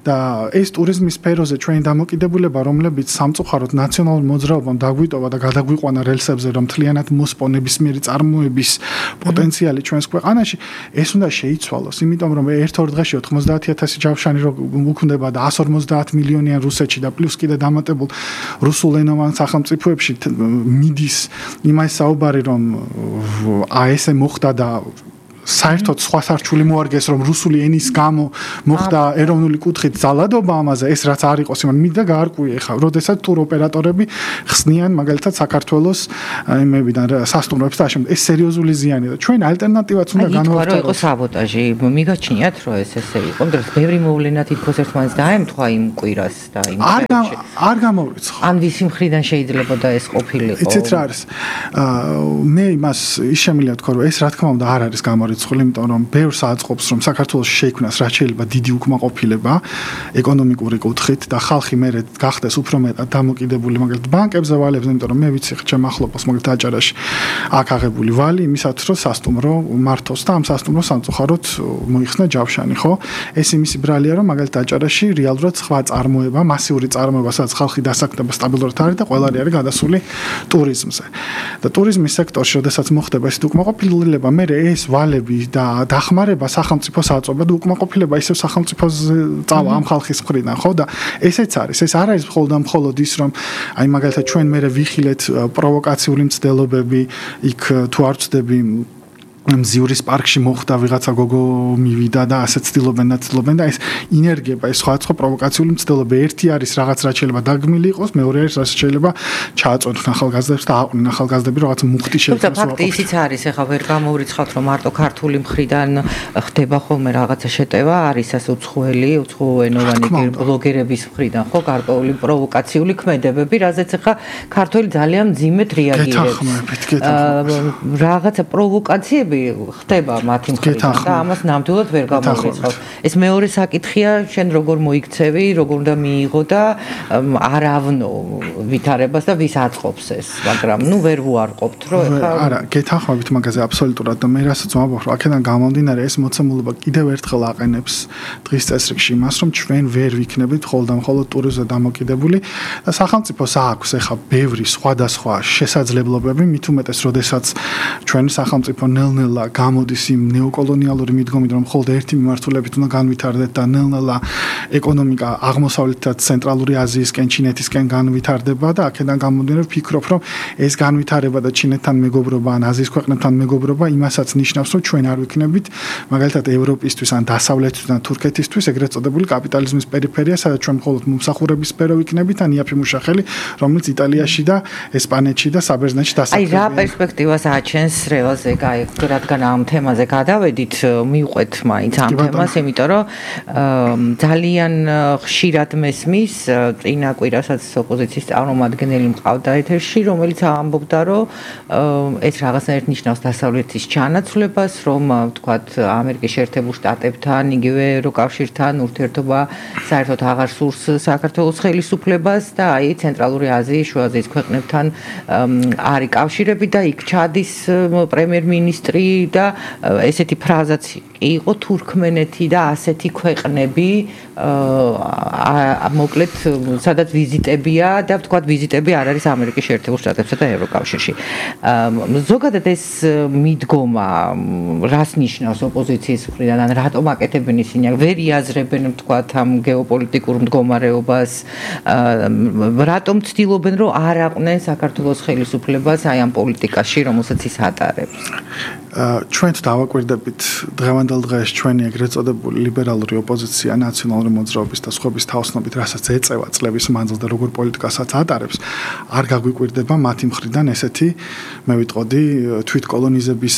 Speaker 7: და ეს ტურიზმის სფეროზე ჩვენი დამოკიდებულება, რომლებიც სამწუხაროდ ნაციონალურ მოძრაობამ დაგვიტოვა და გადაგვიყვანა რელსებზე, რომ თლიანად მოსპო ნებისმიერი წარმოების პოტენციალი ჩვენს ქვეყანაში, ეს უნდა შეიცვალოს, იმიტომ რომ ერთ-ორ დღეში ოთხმოცდაათი ათასი ჯავშანი უქმდება და εκατს ორმოცდაათ მილიონიან რუსეთში და პლუს კიდე დამატებულ რუსულენოვან სახელმწიფოებში მიდის იმას საუბარი, რომ აი ესე მოხდა და საერთოდ სხვა სარჩული მოარგეს, რომ რუსული ენის გამო მოხდა ეროვნული კუთხით ძალადობა ამაზე, ეს რაც არ იყოს, იმან მინდა გაარკვიე ხა, როდესაც ტურ ოპერატორები ხსნიან მაგალითად საქართველოს იმებიდან სასტუმროებს და ამ ეს სერიოზული ზიანია და ჩვენ ალტერნატივაც უნდა განვაცხადოთ.
Speaker 5: აი, იყო საბოტაჟი, მიგაჩნიათ, რომ ეს ესე იყო, მაგრამ ბევრი მოვლენა თითქოს ერთმანეთს დაემთხვა იმ კვირას და იმ
Speaker 7: დღეებში. არ გამოვიცხო.
Speaker 5: ან ვისი მხრიდან შეიძლება და ეს ყოფილიყო.
Speaker 7: იცით რა არის? მე იმას ის შემიძლია ვთქვა, რომ ეს რა თქმა უნდა არ არის გამორიცხული, იმიტომ რომ ბევრს აწყობს, რომ საქართველოს შეიქმნას რაც შეიძლება დიდი უკმაყოფილება ეკონომიკური კუთხით და ხალხი მერე გახდეს უფრო მეტად დამოკიდებული მაგალითად ბანკებზე ვალებს, იმიტომ რომ მე ვიცი ხ ჩემ ახლობელს მაგალითად აჭარაში აქ აღებული ვალი იმისათვის რომ სასტუმრო მართოს და ამ სასტუმროს სამწუხაროდ მოიხსნა ჯავშანი, ხო? ეს იმისი ბრალია, რომ მაგალითად აჭარაში რეალურად სხვა წარმოება, მასიური წარმოება, სადაც ხალხი დასაქმდება სტაბილურად არის და ყველანი არის გადასული ტურიზმზე. და ტურიზმის სექტორში, როდესაც მოხდება ეს უკმაყოფილება, მე ეს ვალები და დახმარება სახელმწიფოს აწובה და უკმაყოფილება ისევ სახელმწიფოზე წავა ამ ხალხის მხრიდან, ხო? და ესეც არის. ეს არ არის მხოლოდ და მხოლოდ ის, რომ აი მაგალითად ჩვენ მე ვიხილეთ პროვოკაციული მცდელობები, იქ თუ არ ვწდები მზიურის პარკში მოხდა ვიღაცა გოგო მივიდა და ასე ცდილობენ და ცდილობენ და ეს ინერგება, ეს სხვადასხვა პროვოკაციული მცდელობა ერთი არის რაღაც რაც შეიძლება დაგმილი იყოს, მეორე არის რაც შეიძლება ჩააწოდონ ახალგაზრდებს და აყვნენ ახალგაზრდები რაღაც მუხტი შეიძლება.
Speaker 5: თუმცა ფაქტი ისიც არის, ეხლა ვერ გამოვრიცხავთ, რომ მარტო ქართული მხრიდან ხდება ხოლმე რაღაცა შეტევა, არის ასე უცხოელი, უცხოენოვანი ბლოგერების მხრიდან, ხო, გარკვეული პროვოკაციული ქმედებები, რაზეც ეხლა ქართველი ძალიან მძიმედ რეაგირებს. რაღაცა პროვოკაციები ხდება მათი მხრიდან და ამას ნამდვილად ვერ გამოვრიცხავთ. ეს მეორე საკითხია, შენ როგორ მოიქცევი, როგორ უნდა მიიღო და არ ავნო ვითარებას და ვის აწყობს ეს, მაგრამ ნუ ვერ ვუარყოფთ, რომ ეხლა
Speaker 7: არა, გეთანხმებით მაგაზე აბსოლუტურად და მე რასაც ვამბობ, რომ აქედან გამომდინარე ეს მოცემულობა კიდევ ერთხელ აყენებს დღის წესრიგში იმას, რომ ჩვენ ვერ ვიქნებით მხოლოდ და მხოლოდ ტურიზმზე დამოკიდებული და სახელმწიფოს აქვს ეხლა ბევრი სხვადასხვა შესაძლებლობები, მით უმეტეს, როდესაც ჩვენი სახელმწიფო ნელ-ნელა გამოდის იმ ნეოკოლონიალური მიდგომით, რომ მხოლოდ ერთი მიმართულებით უნდა განვითარდეთ და ნელ-ნელა ეკონომიკა აღმოსავლეთიდან ცენტრალური აზიისკენ, ჩინეთისკენ განვითარდება და აქედან გამომდინარე ვფიქრობ, რომ ეს განვითარება და ჩინეთთან მეგობრობა ან აზიის ქვეყნებთან მეგობრობა იმასაც ნიშნავს, რომ ჩვენ არ ვიქნებით მაგალითად ევროპისთვის ან დასავლეთისთვის ან თურქეთისთვის ეგრეთ წოდებული კაპიტალიზმის პერიფერია, სადაც ჩვენ მხოლოდ მომსახურების სფერო ვიქნებით ან იაფი მუშახელი, რომელიც იტალიაში და ესპანეთში და საბერძნეთში დასაქმებია.
Speaker 5: აი რა პერსპექტივას აჩენს რეალზე გაი რადგან ამ თემაზე გადავედით, მივყვეთ მაინც ამ თემას, იმიტომ რომ ძალიან ხშირად მესმის წინა კვირასაც ოპოზიციის წარმომადგენელი მყავდა ეთერში, რომელიც ამბობდა, რომ ეს რაღაცნაირად ნიშნავს დასავლეთის ჩანაცვლებას, რომ ვთქვათ ამერიკის შეერთებულ შტატებთან, იგივე ევროკავშირთან ურთიერთობა საერთოდ აღარ სურს საქართველოს ხელისუფლებას და აი ცენტრალური აზიის, შუა აზიის ქვეყნებთან არის კავშირები და იქ ჩადის პრემიერ-მინისტრი და ესეთი ფრაზაც იყო თურქმენეთი და ასეთი ქვეყნები მოკლედ სადაც ვიზიტებია და ვთქვათ ვიზიტები არ არის ამერიკის შეერთებულ შტატებსა და ევროკავშირში. ზოგადად ეს მიდგომა რას ნიშნავს ოპოზიციის მხრიდან, ან რატომ აკეთებენ ისინი, ვერ იაზრებენ ვთქვათ ამ გეოპოლიტიკურ მდგომარეობას, რატომ ცდილობენ რომ არ აყვნენ საქართველოს ხელისუფლებას აი ამ პოლიტიკაში, რომელსაც ის ატარებს.
Speaker 7: ჩვენ დავაკვირდებით დღევანდელ დღეში ჩვენი ეგრეთ წოდებული ლიბერალური ოპოზიცია ნაციონალური მოძრაობის და სხვების თაოსნობით, რასაც ეწევა წლების მანძილზე და როგორ პოლიტიკასაც ატარებს, არ გაგვიკვირდება მათი მხრიდან ესეთი, მე ვიტყოდი, თვითკოლონიზების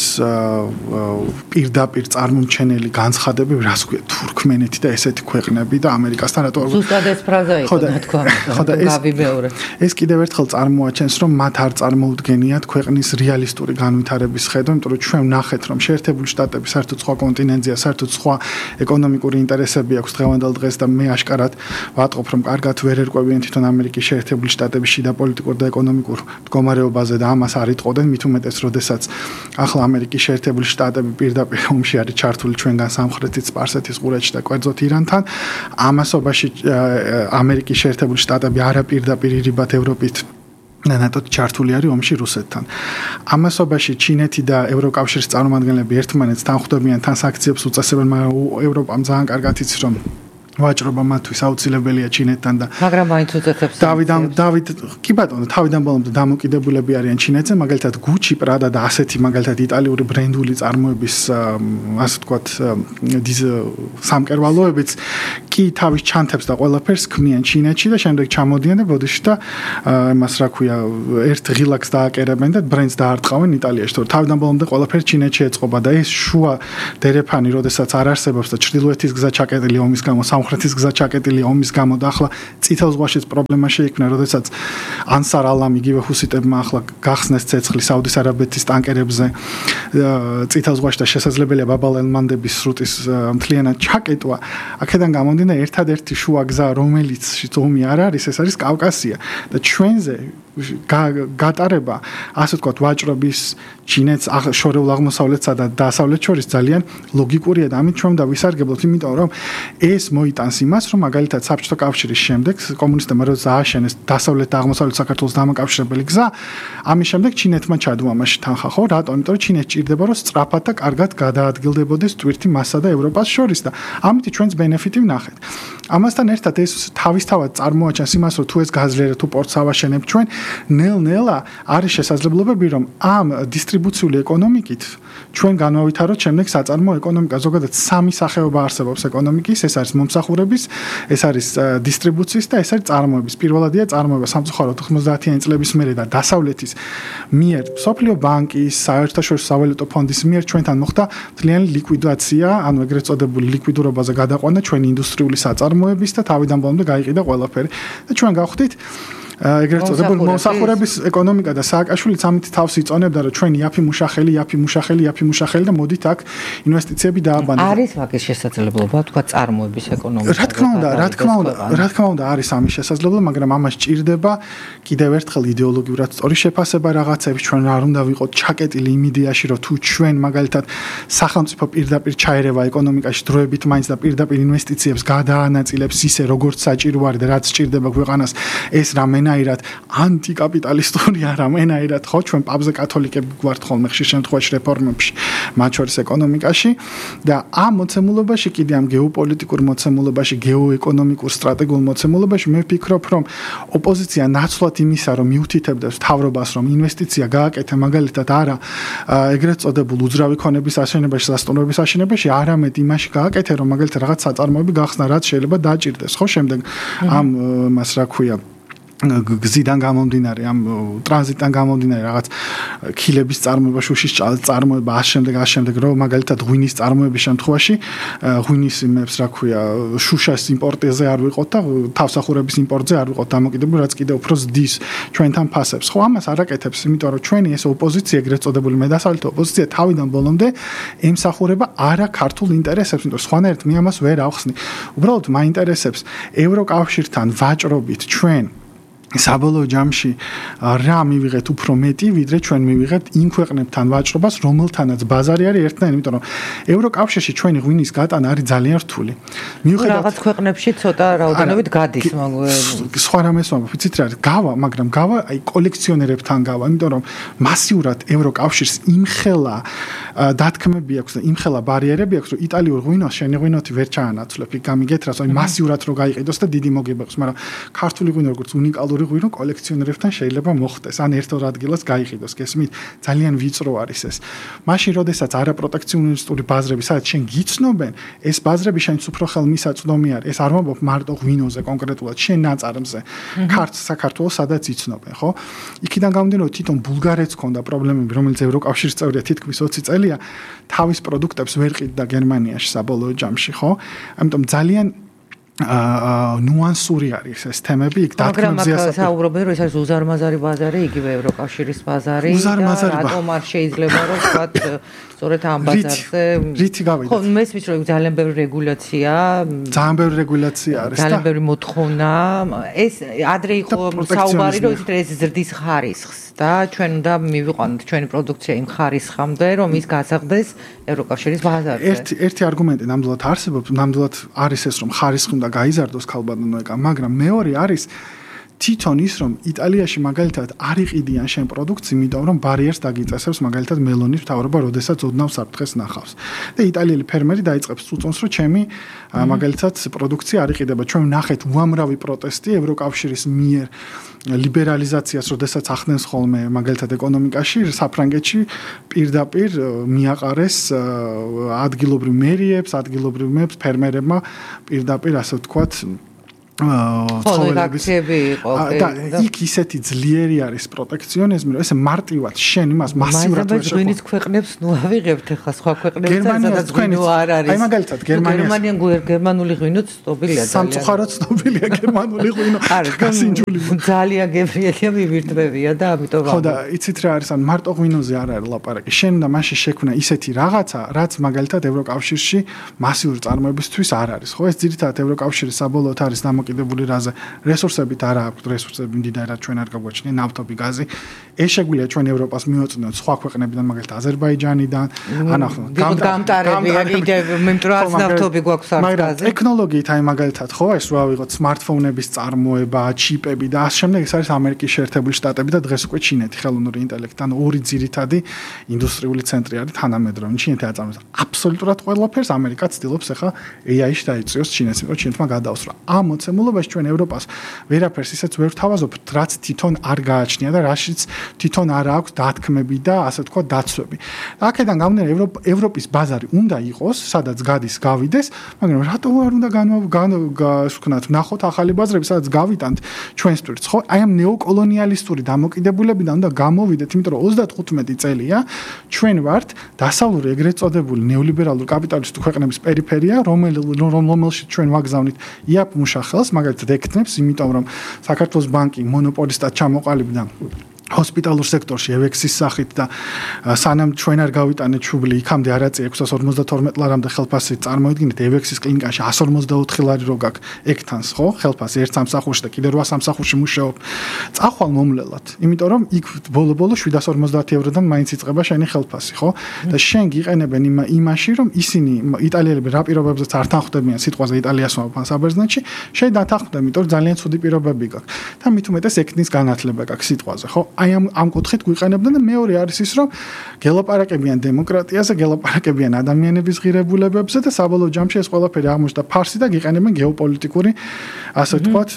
Speaker 7: პირდაპირ წარმომჩენელი განცხადებები, რას ქვია თურქმენეთი და ესეთი ქვეყნები და ამერიკასთან რატო
Speaker 5: ზუსტად ეს ფრაზა იყო თქვა. ხო და გავიბეორე.
Speaker 7: ეს კიდევ ერთხელ წარმოაჩენს, რომ მათ არ წარმოუდგენიათ ქვეყნის რეალისტური განვითარების ხედვა, იმიტომ რომ ჩვენ რომ ნახეთ რომ შეერთებული შტატები საერთოდ სხვა კონტინენტია, საერთოდ სხვა ეკონომიკური ინტერესები აქვს დღევანდელ დღეს და მე აშკარად ვატყობ რომ კარგად ვერ ერკვევიან თვითონ ამერიკის შეერთებული შტატების შიდა პოლიტიკურ და ეკონომიკურ მდგომარეობაზე და ამას არ იტყოდნენ მით უმეტეს როდესაც ახლა ამერიკის შეერთებული შტატები პირდაპირ ომში არის ჩართული ჩვენგან სამხრეთით სპარსეთის ყურეთში და კვერძოთ ირანთან ამასობაში ამერიკის შეერთებული შტატები არაპირდაპირ ირიბად ევროპით ნატოდ ჩართული არის ომში რუსეთთან. ამასობაში ჩინეთი და ევროკავშირის წარმომადგენლები ერთმანეთს თან ხვდებიან, თან სანქციებს უწესებენ, მაგრამ ევროპამ ძალიან კარგად იცის რომ ვაჭრობა მათთვის აუცილებელია ჩინეთთან და
Speaker 5: მაგრამ მაინც უწესებს
Speaker 7: დავიდან დავით კი ბატონო თავიდან ბოლომდე დამოკიდებულები არიან ჩინეთზე მაგალითად გუჩი პრადა და ასეთი მაგალითად იტალიური ბრენდული წარმოების ასე ვთქვათ სამკერვალოებიც კი თავის ჩანთებს და ყველაფერს ქმნიან ჩინეთში და შემდეგ ჩამოდიან და ბოდიში და იმას რა ქვია ერთ ღილაკს დააკერებენ და ბრენდს დაარტყავენ იტალიაში თორე თავიდან ბოლომდე ყველაფერი ჩინეთში ეწყობა და ეს შუა დერეფანი როდესაც არ არსებობს და ჩრდილოეთის გზა ჩაკეტილი ომის გამო სამხრეთის გზა ჩაკეტილი ომის გამო და ახლა წითელ ზღვაშიც პრობლემა შეიქმნა, როდესაც ანსარ ალამ იგივე ჰუსიტებმა ახლა გახსნეს ცეცხლი საუდის არაბეთის ტანკერებზე წითელ ზღვაში და შესაძლებელია ბაბალ ელ-მანდების სრუტის მთლიანად ჩაკეტვა. აქედან გამომდინარე ერთადერთი შუა გზა, რომელიც ომი არ არის, ეს არის კავკასია და ჩვენზე გატარება, ასე ვთქვათ, ვაჭრობის ჩინეთს შორეულ აღმოსავლეთსა და დასავლეთ შორის ძალიან ლოგიკურია და ამით ჩვენ დავისარგებლოთ, იმიტომ რომ ეს მოიტანს იმას, რომ მაგალითად საბჭოთა კავშირის შემდეგ კომუნისტებმა როცა ააშენეს დასავლეთ და აღმოსავლეთ საქართველოს დამაკავშირებელი გზა, ამის შემდეგ ჩინეთმა ჩადო ამაში თანხა, ხო? რატომ? იმიტომ რომ ჩინეთს ჭირდება, რომ სწრაფად და კარგად გადაადგილდებოდეს ტვირთი მასსა და ევროპას შორის და ამით ჩვენს ბენეფიტი ვნახეთ. ამასთან ერთად ეს თავისთავად წარმოაჩენს იმას, რომ თუ ეს გაძლიერეთ, თუ პორტს ავაშენებთ ჩვენ, ნელ-ნელა არის შესაძლებლობები, რომ ამ დისტრიბუციული ეკონომიკით ჩვენ განვავითაროთ შემდეგ საწარმოო ეკონომიკა. ზოგადად სამი სახეობა არსებობს ეკონომიკის, ეს არის მომსახურების, ეს არის დისტრიბუციის და ეს არის წარმოების. პირველადია წარმოება სამწუხაროდ თხმოცდაათიანი წლების მერე და დასავლეთის მიერ სოფლიო ბანკის, საერთაშორისო სავალუტო ფონდის მიერ ჩვენთან მოხდა მთლიანი ლიკვიდაცია, ანუ ეგრეთ წოდებული ლიკვიდურობაზე გადაყვანა ჩვენი ინდუსტრიული საწარმოების და თავიდან ბოლომდე გაიყიდა ყველაფერი და ჩვენ გავხდით ეგრეთ წოდებული მომსახურების ეკონომიკა და სააკაშვილიც ამით თავს იწონებდა რომ ჩვენ იაფი მუშახელი, იაფი მუშახელი, იაფი მუშახელი და მოდით აქ ინვესტიციები დააბანოთ.
Speaker 5: არის მაგის შესაძლებლობა, თქვა წარმოების ეკონომიკა.
Speaker 7: რა თქმა უნდა, რა თქმა უნდა, რა თქმა უნდა არის ამის შესაძლებლობა, მაგრამ ამას ჭირდება კიდევ ერთხელ იდეოლოგიურად სწორი შეფასება რაღაცებს ჩვენ არ უნდა ვიყოთ ჩაკეტილი იმ იდეაში რომ თუ ჩვენ მაგალითად სახელმწიფო პირდაპირ ჩაერევა ეკონომიკაში დროებით მაინც და პირდაპირ ინვესტიციებს გადაანაწილებს ისე როგორც საჭირო არის და რაც ჭირდება ქვეყანას ეს რამე ენაირად ანტიკაპიტალისტური არა მენაირად ხო ჩვენ პაპზე კათოლიკები გვართ ხოლმე ხშირ შემთხვევაში რეფორმებში მათ შორის ეკონომიკაში და ამ მოცემულობაში კიდე ამ გეოპოლიტიკურ მოცემულობაში გეოეკონომიკურ სტრატეგიულ მოცემულობაში მე ვფიქრობ რომ ოპოზიცია ნაცვლად იმისა რომ მიუთითებდეს მთავრობას რომ ინვესტიცია გააკეთე მაგალითად არა ეგრეთ წოდებულ უძრავი ქონების აშენებაში სასტუმროების აშენებაში არამედ იმაში გააკეთე რომ მაგალითად რაღაც საწარმოები გახსნა რაც შეიძლება დააჭირდეს ხო შემდეგ ამ მას რა ქვია გზიდან გამომდინარე ამ ტრანზიტიდან გამომდინარე რაღაც ქილების წარმოება, შუშის წარმოება, ამ შემდეგ ამ შემდეგ რომ მაგალითად ღვინის წარმოების შემთხვევაში ღვინის იმებს რა ქვია შუშას იმპორტზე არ ვიყოთ და თავსახურების იმპორტზე არ ვიყოთ დამოკიდებული, რაც კიდევ უფრო ზდის ჩვენთან ფასებს. ხო, ამას არ აკეთებს, იმიტომ რომ ჩვენი ეს ოპოზიცია, ეგრეთ წოდებული მედასალითო ოპოზიცია თავიდან ბოლომდე ემსახურება არა ქართულ ინტერესებს, იმიტომ რომ სხვანაირად მე ამას ვერ ავხსნი. უბრალოდ მაინტერესებს ევროკავშირთან ვაჭრობით ჩვენ საბოლოო ჯამში რა მივიღეთ უფრო მეტი, ვიდრე ჩვენ მივიღებთ იმ ქვეყნებთან ვაჭრობას, რომელთანაც ბაზარი არის ერთნაირი, იმიტომ რომ ევროკავშირში ჩვენი ღვინის გატანა არის ძალიან რთული.
Speaker 5: მიუხედავად რაღაც ქვეყნებში ცოტა რაოდენობით გადის,
Speaker 7: სხვა რამეს ვამბობ, იცით რა არის? გავა, მაგრამ გავა აი კოლექციონერებთან გავა, იმიტომ რომ მასიურად ევროკავშირს იმხელა დათქმები აქვს და იმხელა ბარიერები აქვს, რომ იტალიურ ღვინოს შენი ღვინოთი ვერ ჩაანაცვლებ, იქ გამიგეთ რას, აი მასიურად რო გაიყიდოს და დიდი მოგება აქვს, მაგრამ ქართული ღვინო როგორც უნიკალური ღვინო კოლექციონერებთან შეიძლება მოხდეს, ან ერთ-ორ ადგილას გაიყიდოს, გესმით? ძალიან ვიწრო არის ეს. მაშინ, როდესაც არაპროტექციონისტური ბაზრები, სადაც შენ გიცნობენ, ეს ბაზრები შენც უფრო ხელმისაწვდომი არის. ეს არ ვამბობ მარტო ღვინოზე კონკრეტულად, შენ ნაწარმზე. ქართლ საქართველოს სადაც იცნობენ, ხო? იქიდან გამომდინარე, თვითონ ბულგარეთს ჰქონდა პრობლემები, რომელიც ევროკავშირის წევრია თითქმის ოცი წელია, თავის პროდუქტებს ვერ ყიდდა გერმანიაში საბოლოო ჯამში, ხო? ამიტომ ძალიან აა ნუანსური არის ეს თემები, იქ დათქმებზეა
Speaker 5: საუბარი. მაგრამ საუბრობენ, რომ ეს არის უზარმაზარი ბაზარი, იგივე ევროკავშირის ბაზარი და რატომ არ შეიძლება რომ ვთქვათ სწორედ ამ ბაზარზე
Speaker 7: რითი გავიდეთ?
Speaker 5: ხო, მესმის რომ ძალიან ბევრი რეგულაცია,
Speaker 7: ძალიან ბევრი რეგულაცია არის და
Speaker 5: ძალიან ბევრი მოთხოვნა. ეს ადრე იყო საუბარი, რომ ეს ზრდის ხარისხს და ჩვენ უნდა მივიყვანოთ ჩვენი პროდუქცია იმ ხარისხამდე, რომ ის გასაღდეს ევროკავშირის ბაზარზე.
Speaker 7: ერთი ერთი არგუმენტი ნამდვილად არსებობს, ნამდვილად არის ეს რომ ხარისხი უნდა გაიზარდოს ქალბატონო ეკა, მაგრამ მეორე არის თვითონ ის რომ იტალიაში მაგალითად არ იყიდიან შენ პროდუქცია, იმიტომ რომ ბარიერს დაგიწესებს მაგალითად მელონის მთავრობა, როდესაც ოდნავ საფრთხეს ნახავს. და იტალიელი ფერმერი დაიწყებს წუწუნს, რომ ჩემი მაგალითად პროდუქცია არ იყიდება. ჩვენ ვნახეთ უამრავი პროტესტი ევროკავშირის მიერ ლიბერალიზაციას, როდესაც ახდენს ხოლმე მაგალითად ეკონომიკაში, საფრანგეთში პირდაპირ მიაყარეს ადგილობრივ მერიებს, ადგილობრივებს ფერმერებმა პირდაპირ ასე ვთქვათ
Speaker 5: ცხოველები იყო
Speaker 7: და იქ ისეთი ძლიერი არის პროტექციონიზმი, რომ ესე მარტივად შენ იმას მასიურად
Speaker 5: ვერ შეხვდებით. გვინის ქვეყნებს ნუ ავიღებთ ახლა სხვა ქვეყნებს სადაც გვინო არ არის.
Speaker 7: აი მაგალითად გერმანია
Speaker 5: გერმანიან გერმანული ღვინოც ცნობილია ძალიან.
Speaker 7: სამწუხაროდ ცნობილია გერმანული ღვინო. გასინჯული.
Speaker 5: ძალიან გებრიელია მივირთმევია და ამიტომ
Speaker 7: ხო და იცით რა არის, ან მარტო ღვინოზე არ არის ლაპარაკი. შენ და მაშინ შექმნა ისეთი რაღაცა, რაც მაგალითად ევროკავშირში მასიური წარმოებისთვის არ არის. ხო ეს ძირითადად ევროკავშირის საბოლოოდ არის დამოკიდებული რაზე რესურსებით არა აქვს რესურსები მდიდარად ჩვენ არ გაგვაჩნია ნავთობი გაზი ეს შეგვიძლია ჩვენ ევროპას მივაწვდოთ სხვა ქვეყნებიდან მაგალითად აზერბაიჯანიდან ანახო
Speaker 5: გამტარებია კიდევ მიმტრაც ნავთობი გვაქვს არ გაზი
Speaker 7: ტექნოლოგიით აი მაგალითად ხო ეს რა ვიღოთ smartphone-ების წარმოება ჩიპები და ამ შემდეგ ეს არის ამერიკის შეერთებული შტატები და დღეს უკვე ჩინეთი ხელოვნური ინტელექტთან ორი ძირითადი ინდუსტრიული ცენტრი არის თანამედროვე ჩინეთი აწარმოებს აბსოლუტურად ყველაფერს ამერიკა ცდილობს ახლა ეი აი-ში დაიწიოს ჩინეთს იმიტომ ჩინეთმა გადაუსრა ამ მოცემულობაში ჩვენ ევროპას ვერაფერს ისეც ვერ ვთავაზობთ რაც თვითონ არ გააჩნია და რაშიც თვითონ არ აქვს დათქმები და ასე თქვა დაცვები. აქედან გამომდინარე ევროპის ბაზარი უნდა იყოს, სადაც გადის გავიდეს, მაგრამ რატო არ უნდა განვქნათ, ნახოთ ახალი ბაზრები, სადაც გავიტანთ ჩვენს ტვირთს, ხო? აი ამ ნეოკოლონიალისტური დამოკიდებულებიდან უნდა გამოვიდეთ, იმიტომ რომ ოცდახუთმეტი წელია ჩვენ ვართ დასავლური ეგრეთ წოდებული ნეოლიბერალური კაპიტალისტური ქვეყნების პერიფერია, რომელშიც ჩვენ ვაგზავნით იაპ მუშახელს, მაგალითად ეკთნებს, იმიტომ რომ საქართველოს ბანკი მონოპოლისტად ჩამოყალიბდა ჰოსპიტალურ სექტორში ევექსის სახით და სანამ ჩვენ არ გავიტანეთ ჩუბლი იქამდე არ აწია ექვსას ორმოცდათორმეტ ლარამდე ხელფასით წარმოიდგინეთ ევექსის კლინიკაში εκατს ორმოცდაოთხი ლარი რო გაქვს ეკთანს ხო ხელფასი ერთ სამსახურში და კიდე რვა სამსახურში მუშაობ წახვალ მომლელად იმიტომ რომ იქ ბოლო-ბოლო შვიდას ორმოცდაათი ევროდან მაინც იწყება შენი ხელფასი ხო და შენ გიყენებენ იმაში რომ ისინი იტალიელები რა პირობებზეც არ თანხმდებიან სიტყვაზე იტალიას მომფან საბერძნეთში შენ დათანხმდები იმიტომ რომ ძალიან ცუდი პირობები გაქვს და მით უმეტეს ეკთნის განათლება გაქვს სიტყვაზე ხო აი ამ ამ კუთხით გვიყენებდნენ და მეორე არის ის რომ გელაპარაკებიან დემოკრატიაზე, გელაპარაკებიან ადამიანების ღირებულებებზე და საბოლოო ჯამში ეს ყველაფერი აღმოჩნდა ფარსი და გიყენებენ გეოპოლიტიკური ასე ვთქვათ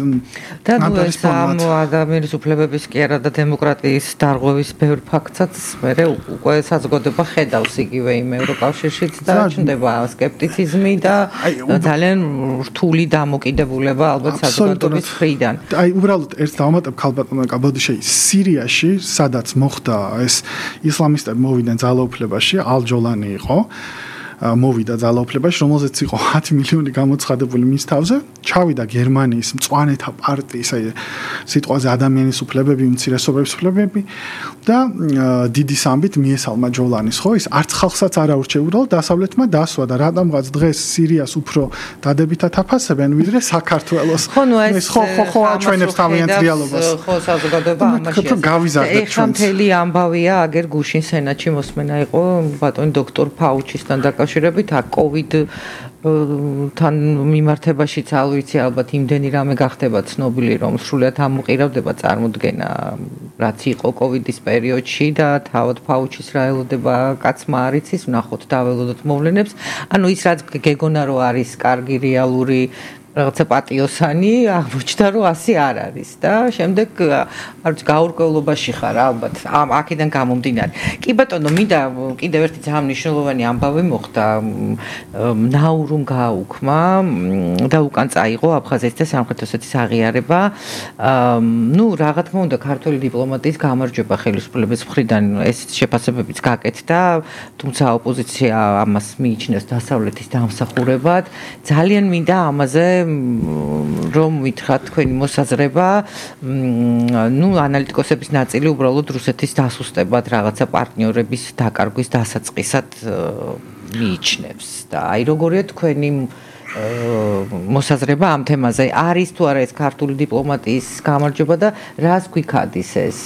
Speaker 5: და ნუ ეს ამ ადამიანის უფლებების კი არა და დემოკრატიის დარღვევის ბევრ ფაქტსაც მე უკვე საზოგადოება ხედავს იგივე იმ ევროკავშირშიც და ჩნდება სკეპტიციზმი და ძალიან რთული დამოკიდებულება ალბათ საზოგადოების მხრიდან.
Speaker 7: აი უბრალოდ ერთ დავამატებ ქალბატონო კაბოდიშე სირია სადაც მოხდა ეს ისლამისტები მოვიდნენ ძალაუფლებაში, ალ-ჯოლანი იყო, მოვიდა ძალაუფლებაში, რომელზეც იყო ათი მილიონი გამოცხადებული მის თავზე, ჩავიდა გერმანიის მწვანეთა პარტიის, აი სიტყვაზე ადამიანის უფლებები, უმცირესობების უფლებები და დიდი სამბით მიესალმა ჯოლანის, ხო, ის არც ხალხსაც არ აურჩეულა, დასავლეთმა დასვა და რატომღაც დღეს სირიას უფრო დადებითად აფასებენ, ვიდრე საქართველოს.
Speaker 5: ხო, ნუ ეს
Speaker 7: ხო, ხო, ხო, ჩვენებს თავიანთ რეალობას.
Speaker 5: ხო, საზოგადოება ამაში.
Speaker 7: გავიზარდეთ ჩვენს.
Speaker 5: ეხლა მთელი ამბავია, აგერ გუშინ სენატში მოსმენა იყო ბატონი დოქტორ ფაუჩისთან დაკავშირებით აქ კოვიდ თან მიმართებაშიც არ ვიცი ალბათ იმდენი რამე გახდება ცნობილი რომ სრულად ამოყირავდება წარმოდგენა რაც იყო კოვიდის პერიოდში და თავად ფაუჩის რა ელოდება კაცმა არ იცის ვნახოთ დაველოდოთ მოვლენებს ანუ ის რაც გეგონა რომ არის კარგი რეალური რაღაცა პატიოსანი აღმოჩნდა რომ ასე არ არის და შემდეგ არ ვიცი გაურკვევლობაში ხარ ალბათ ამ აქედან გამომდინარე. კი ბატონო, მინდა კიდევ ერთი ძალიან მნიშვნელოვანი ამბავი მოხდა ნაურუმ გააუქმა და უკან წაიღო აფხაზეთის და სამხრეთ ოსეთის აღიარება. ნუ რა თქმა უნდა ქართული დიპლომატიის გამარჯვება ხელისუფლების მხრიდან ეს შეფასებებიც გაკეთდა, თუმცა ოპოზიცია ამას მიიჩნევს დასავლეთის დამსახურებად. ძალიან მინდა ამაზე რომ ვითხრათ თქვენი მოსაზრება, ნუ ანალიტიკოსების ნაწილი უბრალოდ რუსეთის დასუსტებად რაღაცა პარტნიორების დაკარგვის დასაწყისად მიიჩნევს და აი როგორია თქვენი მოსაზრება ამ თემაზე არის თუ არა ეს ქართული დიპლომატიის გამარჯვება და რას გვიქადის ეს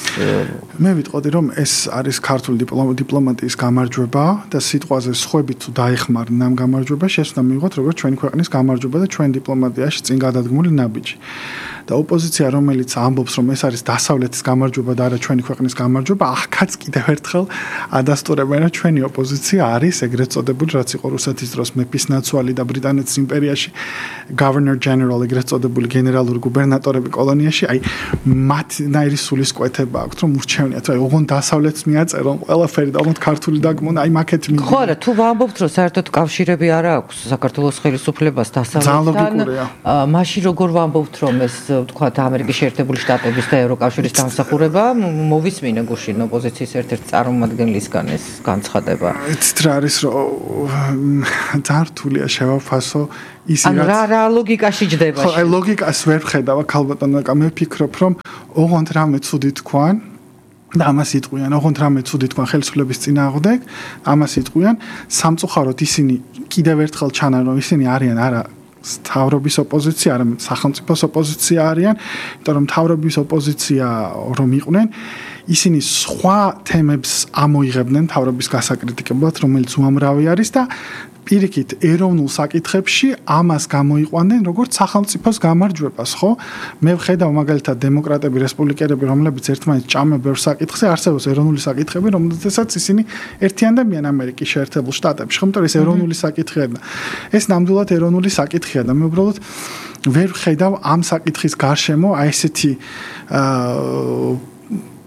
Speaker 7: მე ვიტყოდი რომ ეს არის ქართული დიპლომატიის გამარჯვება და სიტყვაზე სხვებით თუ დაეხმარნენ ამ გამარჯვებას შეცდომა მიიღოთ როგორც ჩვენი ქვეყნის გამარჯვება და ჩვენ დიპლომატიაში წინ გადადგმული ნაბიჯი და ოპოზიცია რომელიც ამბობს რომ ეს არის დასავლეთის გამარჯვება და არა ჩვენი ქვეყნის გამარჯვება ახაც კიდევ ერთხელ ადასტურებენ რომ ჩვენი ოპოზიცია არის ეგრეთ წოდებული რაც იყო რუსეთის დროს მეფის ნაცვალი და ბრიტანეთის იმპერიაში governor general ეგრეთ წოდებული გენერალური გუბერნატორები კოლონიაში აი მათ ნაირი სულისკვეთება აქვს რომ ურჩევნიათ აი ოღონდ დასავლეთს მიაწერონ ყველაფერი და ოღონდ ქართული დაგმონა აი მაკეთ მიდი
Speaker 5: ხო რა თუ ვამბობთ რომ საერთოდ კავშირები არა აქვს საქართველოს ხელისუფლებას დასავლეთთან მაშინ როგორ ვამბობთ რომ ეს ვთქვათ ამერიკის შეერთებული შტატების და ევროკავშირის დამსახურება მოვისმინე გუშინ ოპოზიციის ერთ-ერთ წარმომადგენლისგან ეს განცხადება
Speaker 7: ეს რა არის რომ ძართულია შევაფასო ისე
Speaker 5: რა რა ლოგიკაში ჯდება
Speaker 7: ხო აი ლოგიკას ვერ ვხედავ ქალბატონო მე ვფიქრობ რომ ოღონდ რამე ცუდი თქვან და ამას იტყვიან ოღონდ რამე ცუდი თქვან ხელისუფლების წინააღმდეგ ამას იტყვიან სამწუხაროდ ისინი კიდევ ერთხელ ჩანან რომ ისინი არიან არა თავრობის ოპოზიცია, არა სახელმწიფოს ოპოზიცია არიან, იმიტომ რომ თავრობის ოპოზიცია რომ იყვნენ, ისინი სხვა თემებს ამოიღებდნენ თავრობის გასაკრიტიკებლად, რომელიც უამრავი არის და პირიქით ეროვნულ საკითხებში ამას გამოიყვანდნენ როგორც სახელმწიფოს გამარჯვებას, ხო? მე ვხედავ მაგალითად დემოკრატები, რესპუბლიკელები, რომლებიც ერთმანეთს ჭამენ ბევრ საკითხზე, არსებობს ეროვნული საკითხები, რომელთაც ისინი ერთიანდებიან ამერიკის შეერთებულ შტატებში, ხო? იმიტომ ეს ეროვნული საკითხია და ეს ნამდვილად ეროვნული საკითხია და მე უბრალოდ ვერ ვხედავ ამ საკითხის გარშემო აი ესეთი აა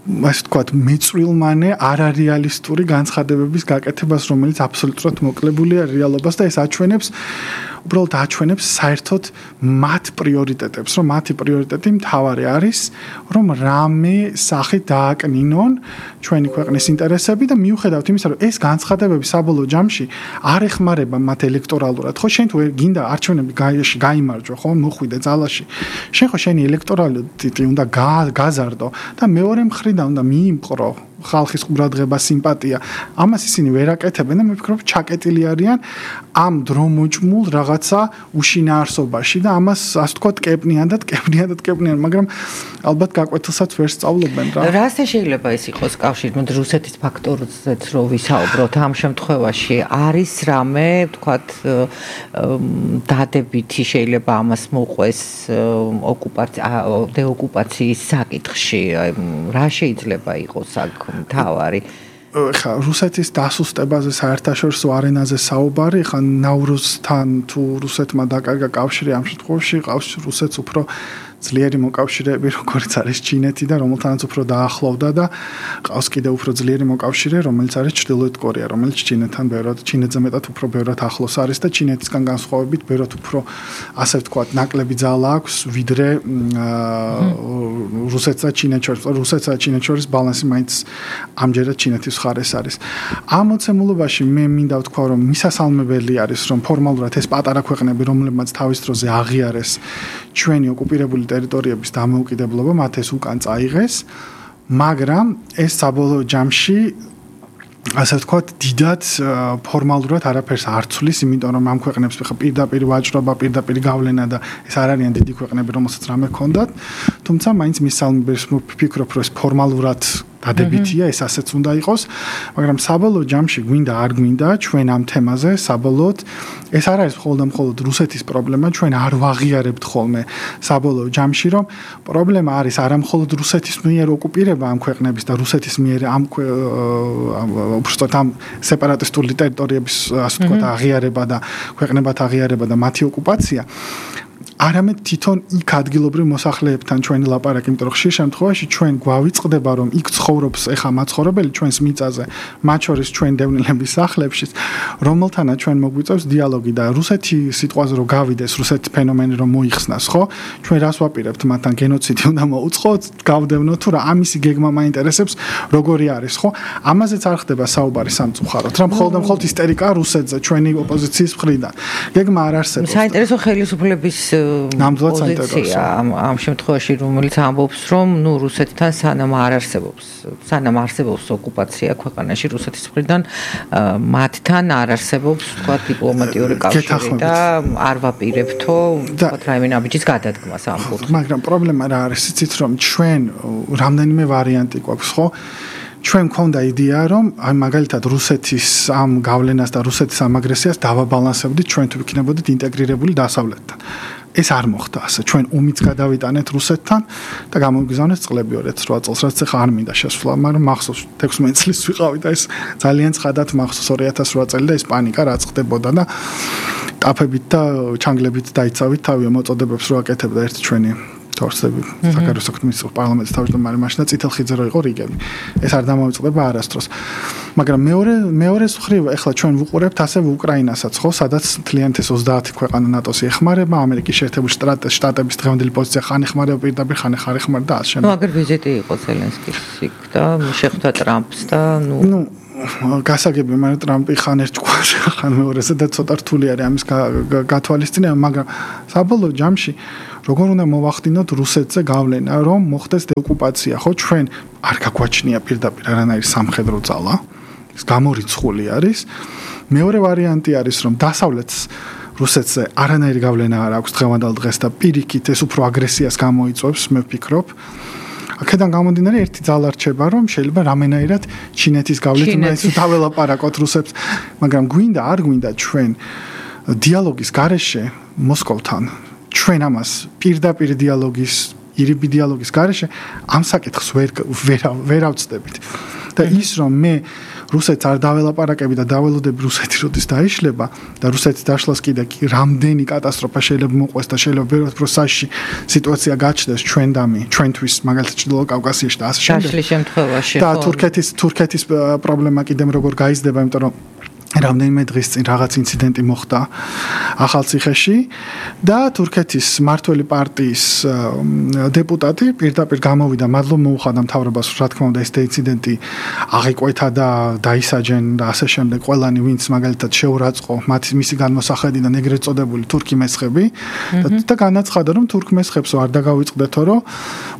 Speaker 7: ასე ვთქვათ, მეწვილმანე არარეალისტური განცხადებების გაკეთებას, რომელიც აბსოლუტურად მოკლებულია რეალობას და ეს აჩვენებს უბრალოდ აჩვენებს საერთოდ მათ პრიორიტეტებს, რომ მათი პრიორიტეტი მთავარი არის, რომ რამე სახით დააკნინონ ჩვენი ქვეყნის ინტერესები და მიუხედავად იმისა, რომ ეს განცხადებები საბოლოო ჯამში არ ეხმარება მათ ელექტორალურად, ხო შენ თუ გინდა არჩევნები გაიმარჯვა, ხო მოხვიდე ძალაში. შენ ხო შენი ელექტორალიტეტი უნდა გაზარდო და მეორე მხრიდან უნდა მიიმყრო ხალხის ყურადღება, სიმპათია. ამას ისინი ვერ აკეთებენ და მე ვფიქრობ, ჩაკეტილი არიან ამ დრომოჭმულ რაღაცა უშინაარსობაში და ამას ასე ვთქვათ, კეპნიან და კეპნიან და კეპნიან, მაგრამ ალბათ გაკვეთილსაც ვერ სწავლობენ რა.
Speaker 5: რასე შეიძლება ეს იყოს კავშირი, მოდი რუსეთის ფაქტორზეც რო ვისაუბროთ, ამ შემთხვევაში არის რამე, ვთქვათ, დადებითი შეიძლება ამას მოყვეს ოკუპაცია, დეოკუპაციის საკითხში, რა შეიძლება იყოს აქ თავარი
Speaker 7: ხა რუსეთის დასუსტებაზე საერთაშორისო არენაზე საუბარი ხა ნავრუზთან თუ რუსეთმა დაკარგა კავშირი ამ შემთხვევაში ყავს რუსეთს უფრო ძლიერი მოკავშირეები როგორც არის ჩინეთი და რომელთანაც უფრო დაახლოვდა და ყავს კიდევ უფრო ძლიერი მოკავშირე რომელიც არის ჩრდილოეთ კორეა რომელიც ჩინეთთან ბევრად ჩინეთზე მეტად უფრო ბევრად ახლოს არის და ჩინეთისგან განსხვავებით ბევრად უფრო ასე ვთქვათ ნაკლები ძალა აქვს ვიდრე რუსეთსა და ჩინეთს შორის რუსეთსა და ჩინეთს შორის ბალანსი მაინც ამჯერად ჩინეთის მხარეს არის ამ მოცემულობაში მე მინდა ვთქვა რომ მისასალმებელი არის რომ ფორმალურად ეს პატარა ქვეყნები რომლებმაც თავის დროზე აღიარეს ჩვენი ოკუპირებული ტერიტორიების დამოუკიდებლობა მათ ეს უკან წაიღეს, მაგრამ ეს საბოლოო ჯამში ასე ვთქვათ, დიდად ფორმალურად არაფერს არ ცვლის, იმიტომ რომ ამ ქვეყნებს ხა პირდაპირ ვაჭრობა, პირდაპირ გავლენა და ეს არ არიან დიდი ქვეყნები, რომელსაც რამე ჰქონდათ, თუმცა მაინც მისალმებელს ვფიქრობ, რომ ეს ფორმალურად დადებითია, ეს ასეც უნდა იყოს, მაგრამ საბოლოო ჯამში გვინდა არ გვინდა ჩვენ ამ თემაზე საბოლოოდ ეს არ არის მხოლოდ და მხოლოდ რუსეთის პრობლემა, ჩვენ არ ვაღიარებთ ხოლმე საბოლოო ჯამში, რომ პრობლემა არის არა მხოლოდ რუსეთის მიერ ოკუპირება ამ ქვეყნების და რუსეთის მიერ ამ უბრალოდ ამ სეპარატისტული ტერიტორიების ასე ვთქვათ აღიარება და ქვეყნებად აღიარება და მათი ოკუპაცია არამედ თვითონ იქ ადგილობრივ მოსახლეებთან ჩვენი ლაპარაკი, იმიტომ რომ ხშირ შემთხვევაში ჩვენ გვავიწყდება, რომ იქ ცხოვრობს ეხა მაცხოვრებელი ჩვენს მიწაზე, მათ შორის ჩვენ დევნილების სახლებში, რომელთანაც ჩვენ მოგვიწევს დიალოგი და რუსეთი სიტყვაზე რომ გავიდეს, რუსეთის ფენომენი რომ მოიხსნას, ხო? ჩვენ რას ვაპირებთ მათთან გენოციდი უნდა მოუწყოთ, გავდევნოთ თუ რა ამისი გეგმა მაინტერესებს, როგორი არის, ხო? ამაზეც არ ხდება საუბარი სამწუხაროდ, რა მხოლოდ და მხოლოდ ისტერიკა რუსეთზე ჩვენი ოპოზიციის მხრიდან. გეგმა არ არსებობს.
Speaker 5: საინტერესო ხელისუფლების პოზიცია ამ ამ შემთხვევაში, რომელიც ამბობს, რომ ნუ რუსეთთან სანამ არ არსებობს, სანამ არსებობს ოკუპაცია ქვეყანაში რუსეთის მხრიდან, მათთან არ არსებობს, თქვა, დიპლომატიური კავშირი და არ ვაპირებთო, თქვა, რაიმე ნაბიჯის გადადგმას ამ კუთხით.
Speaker 7: მაგრამ პრობლემა რა არის, იცით რომ ჩვენ რამდენიმე ვარიანტი გვაქვს, ხო? ჩვენ მქონდა იდეა, რომ აი მაგალითად რუსეთის ამ გავლენას და რუსეთის ამ აგრესიას დავაბალანსებდით, ჩვენ თუ ვიქნებოდით ინტეგრირებული დასავლეთთან. ეს არ მოხდა ასე. ჩვენ უმიც გადავიტანეთ რუსეთთან და გამოვიგზავნეთ წყლები ორ ათას რვა წელს, რაც ახლა არ მინდა შესვლა, მაგრამ მახსოვს თექვსმეტ წლის ვიყავი და ეს ძალიან ცხადად მახსოვს ორ ათას რვა წელი და ეს პანიკა რაც ხდებოდა და ტაფებით და ჩანგლებით დაიცავით თავი მოწოდებებს რო აკეთებდა ერთი ჩვენი თორსები საკაროს საქმის პარლამენტის თავმჯდომარე მაშინ და წითელხიძე რო იყო რიგები. ეს არ დამოიწყდება არასდროს. მაგრამ მეორე მეორე მხრივ ეხლა ჩვენ ვუყურებთ ასევე უკრაინასაც, ხო, სადაც მთლიანად ეს ოცდაათი ქვეყანა ნატოს ეხმარება, ამერიკის შეერთებული შტატების დღევანდელი პოზიცია ხან ეხმარება პირდაპირ, ხან ხარ ეხმარება და ასე შემდეგ.
Speaker 5: ნუ აგერ ვიზიტი იყო ზელენსკის იქ და შეხვდა ტრამპს და ნუ
Speaker 7: ნუ გასაგები, მაგრამ ტრამპი ხან ერთ ჭკუას, ხან მეორეზე და ცოტა რთული არის ამის გათვალისწინება, მაგრამ საბოლოო ჯამში როგორ უნდა მოვახდინოთ რუსეთზე გავლენა, რომ მოხდეს დეოკუპაცია, ხო, ჩვენ არ გაგვაჩნია პირდაპირ არანაირი სამხედრო ძალა, ეს გამორიცხული არის. მეორე ვარიანტი არის, რომ დასავლეთს რუსეთზე არანაირი გავლენა არ აქვს დღევანდელ დღეს და პირიქით ეს უფრო აგრესიას გამოიწვევს, მე ვფიქრობ. აქედან გამომდინარე ერთი ძალა რჩება, რომ შეიძლება რამენაირად ჩინეთის გავლით მაინც დაველაპარაკოთ რუსებს, მაგრამ გვინდა არ გვინდა ჩვენ დიალოგის გარეშე მოსკოვთან ჩვენ ამას პირდაპირ დიალოგის, ირიბი დიალოგის გარეშე ამ საკითხს ვერ ვერ ავწდებით. და ის რომ მე რუსეთს არ დაველაპარაკები და დაველოდები რუსეთი როდის დაიშლება და რუსეთის დაშლას კიდე რამდენი კატასტროფა შეიძლება მოყვეს და შეიძლება ბევრად უფრო საშიში სიტუაცია გაჩნდეს ჩვენ დამი, ჩვენთვის მაგალითად ჩრდილოეთ კავკასიაში და ასე შემდეგ.
Speaker 5: დაშლის შემთხვევაში
Speaker 7: და თურქეთის თურქეთის პრობლემა კიდე როგორ გაიზრდება, იმიტომ რომ რამდენიმე დღის წინ რაღაც ინციდენტი მოხდა ახალციხეში და თურქეთის მმართველი პარტიის დეპუტატი პირდაპირ გამოვიდა, მადლობა მოუხადა მთავრობას, რა თქმა უნდა ეს ინციდენტი აღიკვეთა და დაისაჯენ და ასე შემდეგ ყველანი ვინც მაგალითად შეურაცხო მათი მისი განმოსახედიდან ეგრეთ წოდებული თურქი მესხები და განაცხადა რომ თურქ მესხებსო არ დაგავიწყდეთო რომ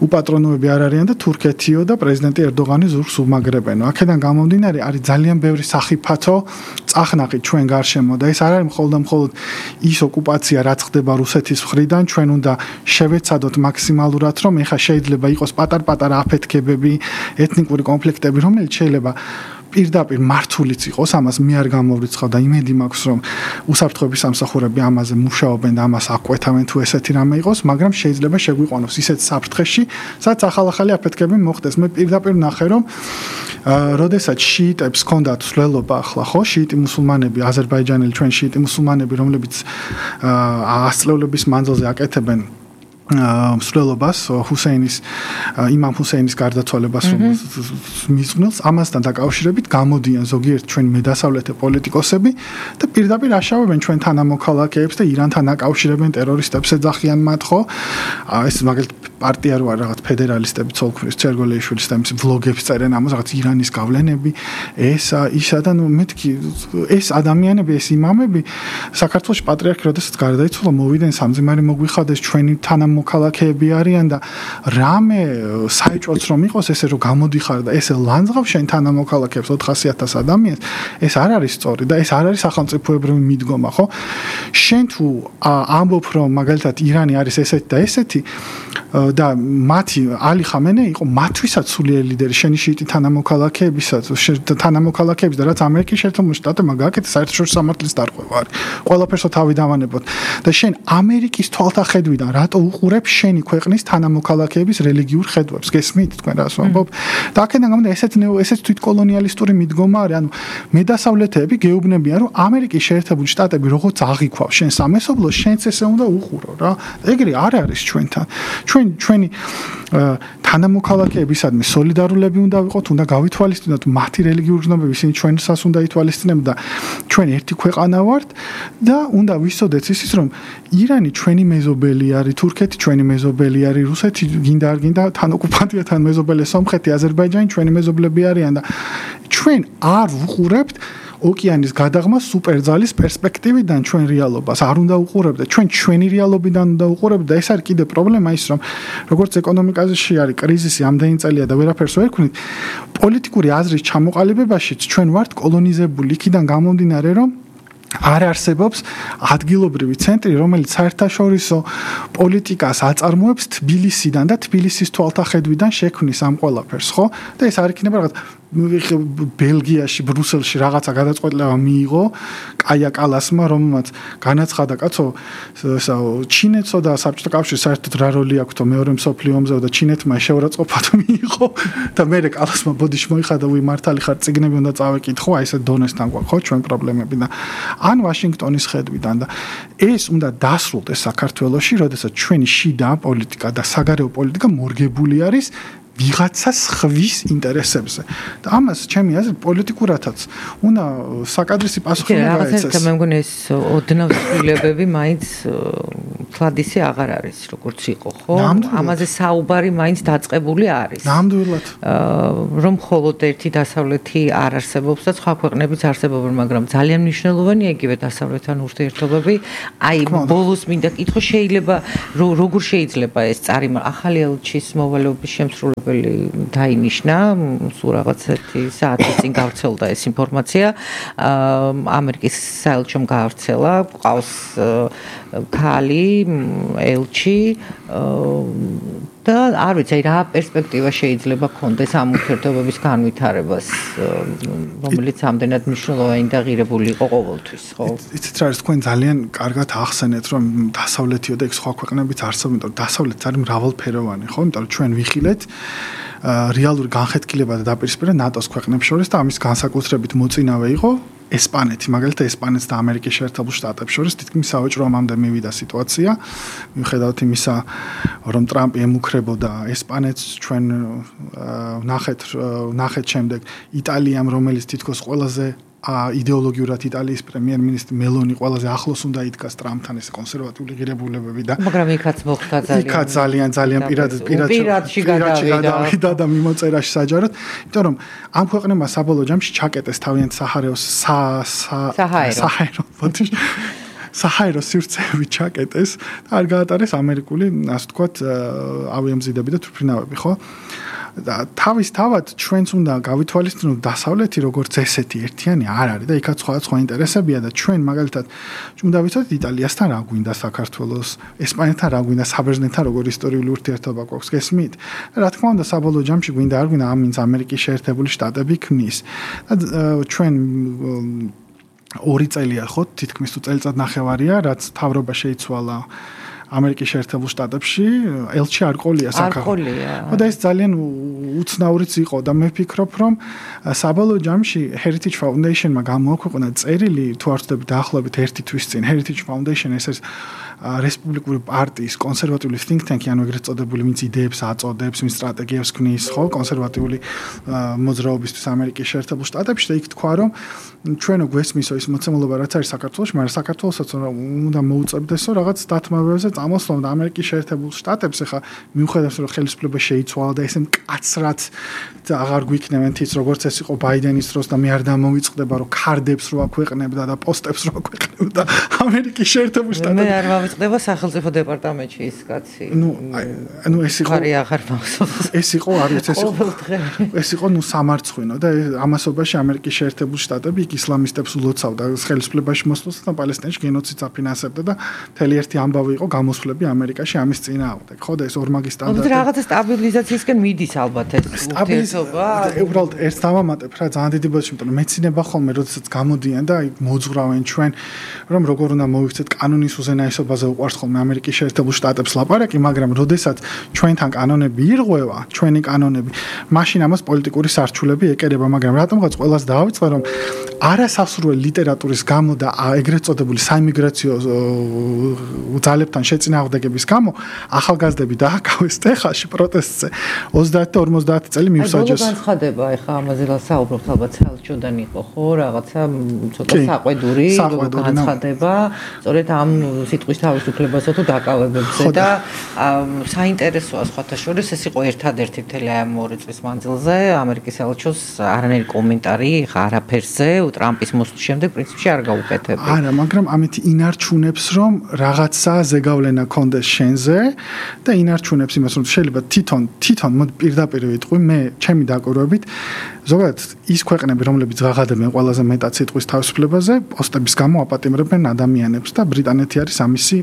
Speaker 7: უპატრონოები არ არიან და თურქეთიო და პრეზიდენტი ერდოღანი ზურგს უმაგრებენო. აქედან გამომდინარე არის ძალიან ბევრი სახიფათო წახნაყი ჩვენ გარშემო და ეს არ არის მხოლოდ და მხოლოდ ის ოკუპაცია რაც ხდება რუსეთის მხრიდან, ჩვენ უნდა შევეცადოთ მაქსიმალურად, რომ ეხა შეიძლება იყოს პატარ-პატარა აფეთქებები, ეთნიკური კონფლიქტები, რომელიც შეიძლება პირდაპირ მართულიც იყოს, ამას მე არ გამოვრიცხავ და იმედი მაქვს, რომ უსაფრთხოების სამსახურები ამაზე მუშაობენ და ამას აკვეთავენ თუ ესეთი რამე იყოს, მაგრამ შეიძლება შეგვიყვანოს ისეთ საფრთხეში, სადაც ახალ-ახალი აფეთქებები მოხდეს. მე პირდაპირ ნახე, რომ როდესაც შიიტებს ჰქონდათ სვლელობა ახლა, ხო, შიიტი მუსულმანები, აზერბაიჯანელი ჩვენ შიიტი მუსულმანები, რომლებიც ასწლეულების მანძილზე აკეთებენ მსვლელობას ჰუსეინის იმამ ჰუსეინის გარდაცვალებას მისმნელს, ამასთან დაკავშირებით გამოდიან ზოგიერთ ჩვენ მედასავლეთე პოლიტიკოსები და პირდაპირ აშავებენ ჩვენ თანამოქალაქეებს და ირანთან აკავშირებენ ტერორისტებს, ეძახიან მათ, ხო? ეს მაგალითად პარტია რო არ რაღაც ფედერალისტები ცოლქმრის ჩერგოლეიშვილის და იმის ვლოგებს წერენ ამას რაღაც ირანის გავლენები, ესა, ისა და ნუ მეთქი ეს ადამიანები, ეს იმამები საქართველოს პატრიარქი როდესაც გარდაიცვალა, მოვიდნენ სამძიმარი მოგვიხადეს ჩვენი თანამ მოქალაქეები არიან და რამე საეჭვოც რომ იყოს ესე რომ გამოდიხარ და ესე ლანძღავ შენ თანამოქალაქეებს ოთხასი ათას ადამიანს, ეს არ არის სწორი და ეს არ არის სახელმწიფოებრივი მიდგომა, ხო? შენ თუ ამბობ რომ მაგალითად ირანი არის ესეთი და ესეთი და მათი ალი ხამენე იყო მათვისაც სულიერი ლიდერი, შენი შიიტი თანამოქალაქეებისაც, თანამოქალაქეების და რაც ამერიკის შეერთებული შტატებმა გააკეთა საერთაშორისო სამართლის დარღვევა არის. ყველაფერსო თავი დავანებოთ და შენ ამერიკის თვალთახედვიდან რატო უყურებ შენი ქვეყნის თანამოქალაქეების რელიგიურ ხედვებს? გესმით თქვენ რას ვამბობ? და აქედან გამომდინარე ესეც ესეც თვითკოლონიალისტური მიდგომა არის, ანუ მედასავლეთეები გეუბნებიან რომ ამერიკის შეერთებული შტატები როგორც აღიქვავს შენ სამესობლოს, შენც ესე უნდა უყურო რა. ეგრე არ არის ჩვენთან. ჩვენ ჩვენი თანამოქალაქეებისადმი სოლიდარულები უნდა ვიყოთ, უნდა გავითვალისწინოთ მათი რელიგიური გრძნობები, ისინი ჩვენსაც უნდა ითვალისწინებთ და ჩვენ ერთი ქვეყანა ვართ და უნდა ვიცოდეთ ისიც რომ ირანი ჩვენი მეზობელი არის, თურქეთი ჩვენი მეზობელი არის, რუსეთი გინდა არ გინდა თან ოკუპანტია, თან მეზობელი, სომხეთი, აზერბაიჯანი ჩვენი მეზობლები არიან და ჩვენ არ ვუყურებთ ოკეანის გადაღმა სუპერძალის პერსპექტივიდან ჩვენ რეალობას არ უნდა უყურებდა, ჩვენ ჩვენი რეალობიდან უნდა უყურებდა. ეს არის კიდე პრობლემა ის, რომ როგორც ეკონომიკაში არის კრიზისი ამდენი წელია და ვერაფერს ვერ ვქნით, პოლიტიკური აზრის ჩამოყალიბებაშიც ჩვენ ვართ კოლონიზებული იქიდან გამომდინარე, რომ არ არსებობს ადგილობრივი ცენტრი, რომელიც საერთაშორისო პოლიტიკას აწარმოებს თბილისიდან და თბილისის თვალთახედვიდან შექმნის ამ ყველაფერს, ხო? და ეს არ იქნება რაღაც ბელგიაში, ბრუსელში რაღაცა გადაწყვეტილება მიიღო კაია კალასმა, რომელმაც განაცხადა, კაცო, ჩინეთსო და საბჭოთა კავშირს საერთოდ რა როლი აქვს მეორე მსოფლიო ომზე და ჩინეთმა შეურაცხყოფა მიიღო და მე კალასმა ბოდიში მოიხადა, უი მართალი ხარ, წიგნები უნდა წავეკითხო, აი ესე დონესთან გვაქვს, ხო, ჩვენ პრობლემები და ან ვაშინგტონის ხედვიდან და ეს უნდა დასრულდეს საქართველოში, როდესაც ჩვენი შიდა პოლიტიკა და საგარეო პოლიტიკა მორგებული არის ვიღაცას ხვის ინტერესებზე. და ამას ჩემი აზრით პოლიტიკურათაც უნდა საკადრისი პასუხი უნდა გაეცეს.
Speaker 5: რაღაცა მე მგონი ეს ოდნავ ცვლილებები მაინც თვადისი აღარ არის როგორც იყო, ხო? ამაზე საუბარი მაინც დაწყებული არის.
Speaker 7: ნამდვილად.
Speaker 5: რომ მხოლოდ ერთი დასავლეთი არ არსებობს და სხვა ქვეყნებიც არსებობენ, მაგრამ ძალიან მნიშვნელოვანია იგივე დასავლეთთან ურთიერთობები. აი ბოლოს მინდა კითხო, შეიძლება როგორ შეიძლება ეს წარიმა ახალი ელჩის მოვალეობის შემსრულებელი დაინიშნა, სულ რაღაც ერთი საათის წინ გავრცელდა ეს ინფორმაცია. ამერიკის საელჩომ გავრცელა, ყავს ქალი, ელჩი და არ ვიცი რა პერსპექტივა შეიძლება ქონდეს ამ ურთიერთობების განვითარებას, რომელიც ამდენად მნიშვნელოვანი და ღირებული იყო ყოველთვის, ხო?
Speaker 7: იცით რა არის, თქვენ ძალიან კარგად ახსენეთ, რომ დასავლეთიო და სხვა ქვეყნებიც არსებობენ, იმიტომ რომ დასავლეთი არის მრავალფეროვანი, ხო? იმიტომ რომ ჩვენ ვიხილეთ რეალური განხეთქილება და დაპირისპირება ნატოს ქვეყნებს შორის და ამის განსაკუთრებით მოწინავე იყო ესპანეთი, მაგალითად ესპანეთს და ამერიკის შეერთებულ შტატებს შორის თითქმის სავაჭრო ომამდე მივიდა სიტუაცია. მიუხედავად იმისა, რომ ტრამპი ემუქრებოდა ესპანეთს, ჩვენ ნახეთ ნახეთ შემდეგ იტალიამ, რომელიც თითქოს ყველაზე იდეოლოგიურად იტალიის პრემიერ-მინისტრი მელონი ყველაზე ახლოს უნდა იდგას ტრამპთან, ეს კონსერვატიული ღირებულებები და
Speaker 5: მაგრამ იქაც მოხდა ძალიან
Speaker 7: იქაც ძალიან ძალიან პირად
Speaker 5: პირადში
Speaker 7: გადავიდა და მიმოწერაში საჯაროდ, იმიტომ რომ ამ ქვეყნებმა საბოლოო ჯამში ჩაკეტეს თავიანთ საჰარაოს საჰაერო საჰაერო სივრცეები ჩაკეტეს და არ გაატარეს ამერიკული, ასე ვთქვათ, ავიამზიდები და თვითმფრინავები, ხო? და თავის თავად ჩვენც უნდა გავითვალისწინოთ დასავლეთი როგორც ესეთი ერთიანი არ არის და იქაც სხვადასხვა ინტერესებია და ჩვენ მაგალითად უნდა ვიცოდეთ იტალიასთან რა გვინდა საქართველოს, ესპანეთთან რა გვინდა, საბერძნეთთან როგორი ისტორიული ურთიერთობა გვაქვს, გესმით? რა თქმა უნდა საბოლოო ჯამში გვინდა არ გვინდა ამინც ამერიკის შეერთებული შტატები ქმნის და ჩვენ ორი წელია ხო თითქმის თუ წელიწად ნახევარია რაც თავრობა შეიცვალა ამერიკის შეერთებულ შტატებში, ელჩი არ ყოლია
Speaker 5: საქართველოს.
Speaker 7: და ეს ძალიან უცნაურიც იყო და მე ვფიქრობ, რომ საბოლოო ჯამში Heritage Foundation-მა გამოაქვეყნა წერილი, თუ არ ვცდები დაახლოებით ერთი თვის წინ, Heritage Foundation ეს არის რესპუბლიკური პარტიის კონსერვატიული think tank-ი, ანუ ეგრეთ წოდებული, ვინც იდეებს აწოდებს, ვინც სტრატეგიებს ქმნის, ხო, კონსერვატიული მოძრაობისთვის ამერიკის შეერთებულ შტატებში და იქ თქვა, რომ ჩვენო გვესმისო ის მოცემულობა რაც არის საქართველოში, მაგრამ საქართველოსაც უნდა მოუწევდესო რაღაც დათმობებზე წამოსვლამ და ამერიკის შეერთებულ შტატებს ახლა მიუხედავად რომ ხელისუფლება შეიცვალა და ესე მკაცრად აღარ გვიქნევენ თიც როგორც ეს იყო ბაიდენის დროს და მე არ დამოვიწყდება რომ ქარდებს რო აქვეყნებდა და პოსტებს რო აქვეყნებდა ამერიკის შეერთებულ შტატებში.
Speaker 5: მე არ მოვიწყდება სახელმწიფო დეპარტამენტში ის კაცი.
Speaker 7: ნუ ანუ ეს იყო
Speaker 5: ხარი აღარ მახსოვს.
Speaker 7: ეს იყო არ ვიცი ეს იყო ეს იყო ნუ სამარცხვინო და ამასობაში ამერიკის შეერთებულ შტატები იქ ისლამისტებს ულოცავდა ხელისუფლებაში მოსვლას და პალესტინაში გენოციდს აფინანსებდა და მთელი ერთი ამბავი იყო გამოსვლები ამერიკაში ამის წინააღმდეგ. ხო და ეს ორმაგი სტანდარტი.
Speaker 5: რაღაცა სტაბილიზაციისკენ მიდის ალბათ ეს ურთიერთობა.
Speaker 7: უბრალოდ ერთ დავამატებ რა ძალიან დიდი ბოდიში, იმიტომ რომ მეცინება ხოლმე როდესაც გამოდიან და აი მოძღვრავენ ჩვენ რომ როგორ უნდა მოვიქცეთ კანონის უზენაესობაზე უყვარს ხოლმე ამერიკის შეერთებულ შტატებს ლაპარაკი, მაგრამ როდესაც ჩვენთან კანონები ირღვევა, ჩვენი კანონები, მაშინ ამას პოლიტიკური სარჩულები ეკერება, მაგრამ რატომღაც ყველას დავიწყე რომ არასასურველი ლიტერატურის გამო და ეგრეთ წოდებული საიმიგრაციო ძალებთან შეწინააღმდეგების გამო ახალგაზრდები დააკავეს ტეხასში პროტესტზე ოცდაათი და ორმოცდაათი წელი მივსაჯეს.
Speaker 5: აი, განცხადება ეხა ამაზე საუბრობთ ალბათ საელჩოდან იყო ხო, რაღაცა ცოტა საყვედური განცხადება, სწორედ ამ სიტყვის თავისუფლებასა თუ დაკავებებზე და საინტერესოა სხვათა შორის ეს იყო ერთადერთი მთელი ამ ორი წლის მანძილზე ამერიკის ელჩოს არანაირი კომენტარი არაფერზე ტრამპის მოსვლის შემდეგ პრინციპში არ გაუკეთებია.
Speaker 7: არა, მაგრამ ამით ინარჩუნებს რომ რაღაცა ზეგავლენა კონდეს შენზე და ინარჩუნებს იმას რომ შეიძლება თვითონ თვითონ მოდი პირდაპირ ვიტყვი მე ჩემი დაკვირვებით ზოგადად ის ქვეყნები რომლებიც ღაღადებენ ყველაზე მეტად სიტყვის თავისუფლებაზე პოსტების გამო აპატიმრებენ ადამიანებს და ბრიტანეთი არის ამისი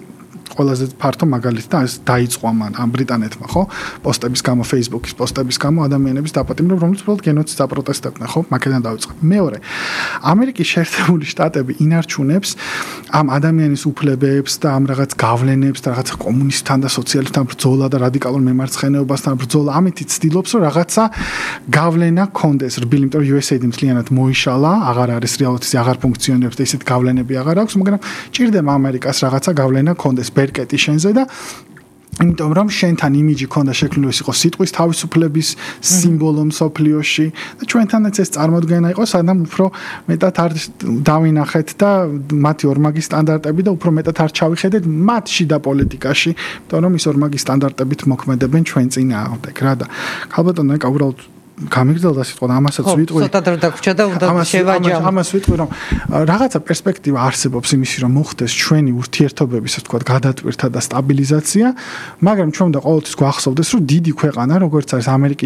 Speaker 7: ყველაზე ფართო მაგალითი და ეს დაიწყო ამ ბრიტანეთმა ხო პოსტების გამო Facebook-ის პოსტების გამო ადამიანების დაპატიმრება რომლებიც უბრალოდ გენოციდს აპროტესტებდნენ ხო მაგედან დაიწყო მეორე ამერიკის შეერთებული შტატები ინარჩუნებს ამ ადამიანის უფლებებს და ამ რაღაც გავლენებს და რაღაცა კომუნისტთან და სოციალისტთან ბრძოლა და რადიკალურ მემარცხენეობასთან ბრძოლა ამით ცდილობს რომ რაღაცა გავლენა კონდეს რბილი იმიტომ რომ U S A-დი მთლიანად მოიშალა აღარ არის რეალურად ის აღარ ფუნქციონირებს და ისეთ გავლენები აღარ აქვს მაგრამ ჭირდება ამერიკას რაღაცა გავლენა კონდეს ბერკეტი შენზე და იმიტომ რომ შენთან იმიჯი ქონდა შექმნილი ის იყო სიტყვის თავისუფლების სიმბოლო მსოფლიოში და ჩვენთანაც ეს წარმოდგენა იყო სანამ უფრო მეტად არ დავინახეთ და მათი ორმაგი სტანდარტები და უფრო მეტად არ ჩავიხედეთ მათ შიდა პოლიტიკაში იმიტომ რომ ის ორმაგი სტანდარტებით მოქმედებენ ჩვენ წინააღმდეგ რა და ქალბატონო ეკა უბრალოდ გამიგრძელდა სიტყვა და ამასაც ვიტყვი.
Speaker 5: ხო, ცოტა დრო დაგვრჩა და უნდა შევაჯამო.
Speaker 7: ამას ვიტყვი რომ რაღაცა პერსპექტივა არსებობს იმისი რომ მოხდეს ჩვენი ურთიერთობების ასე ვთქვათ გადატვირთა და სტაბილიზაცია, მაგრამ ჩვენ უნდა ყოველთვის გვახსოვდეს რომ დიდი ქვეყანა როგორც არის ამერიკის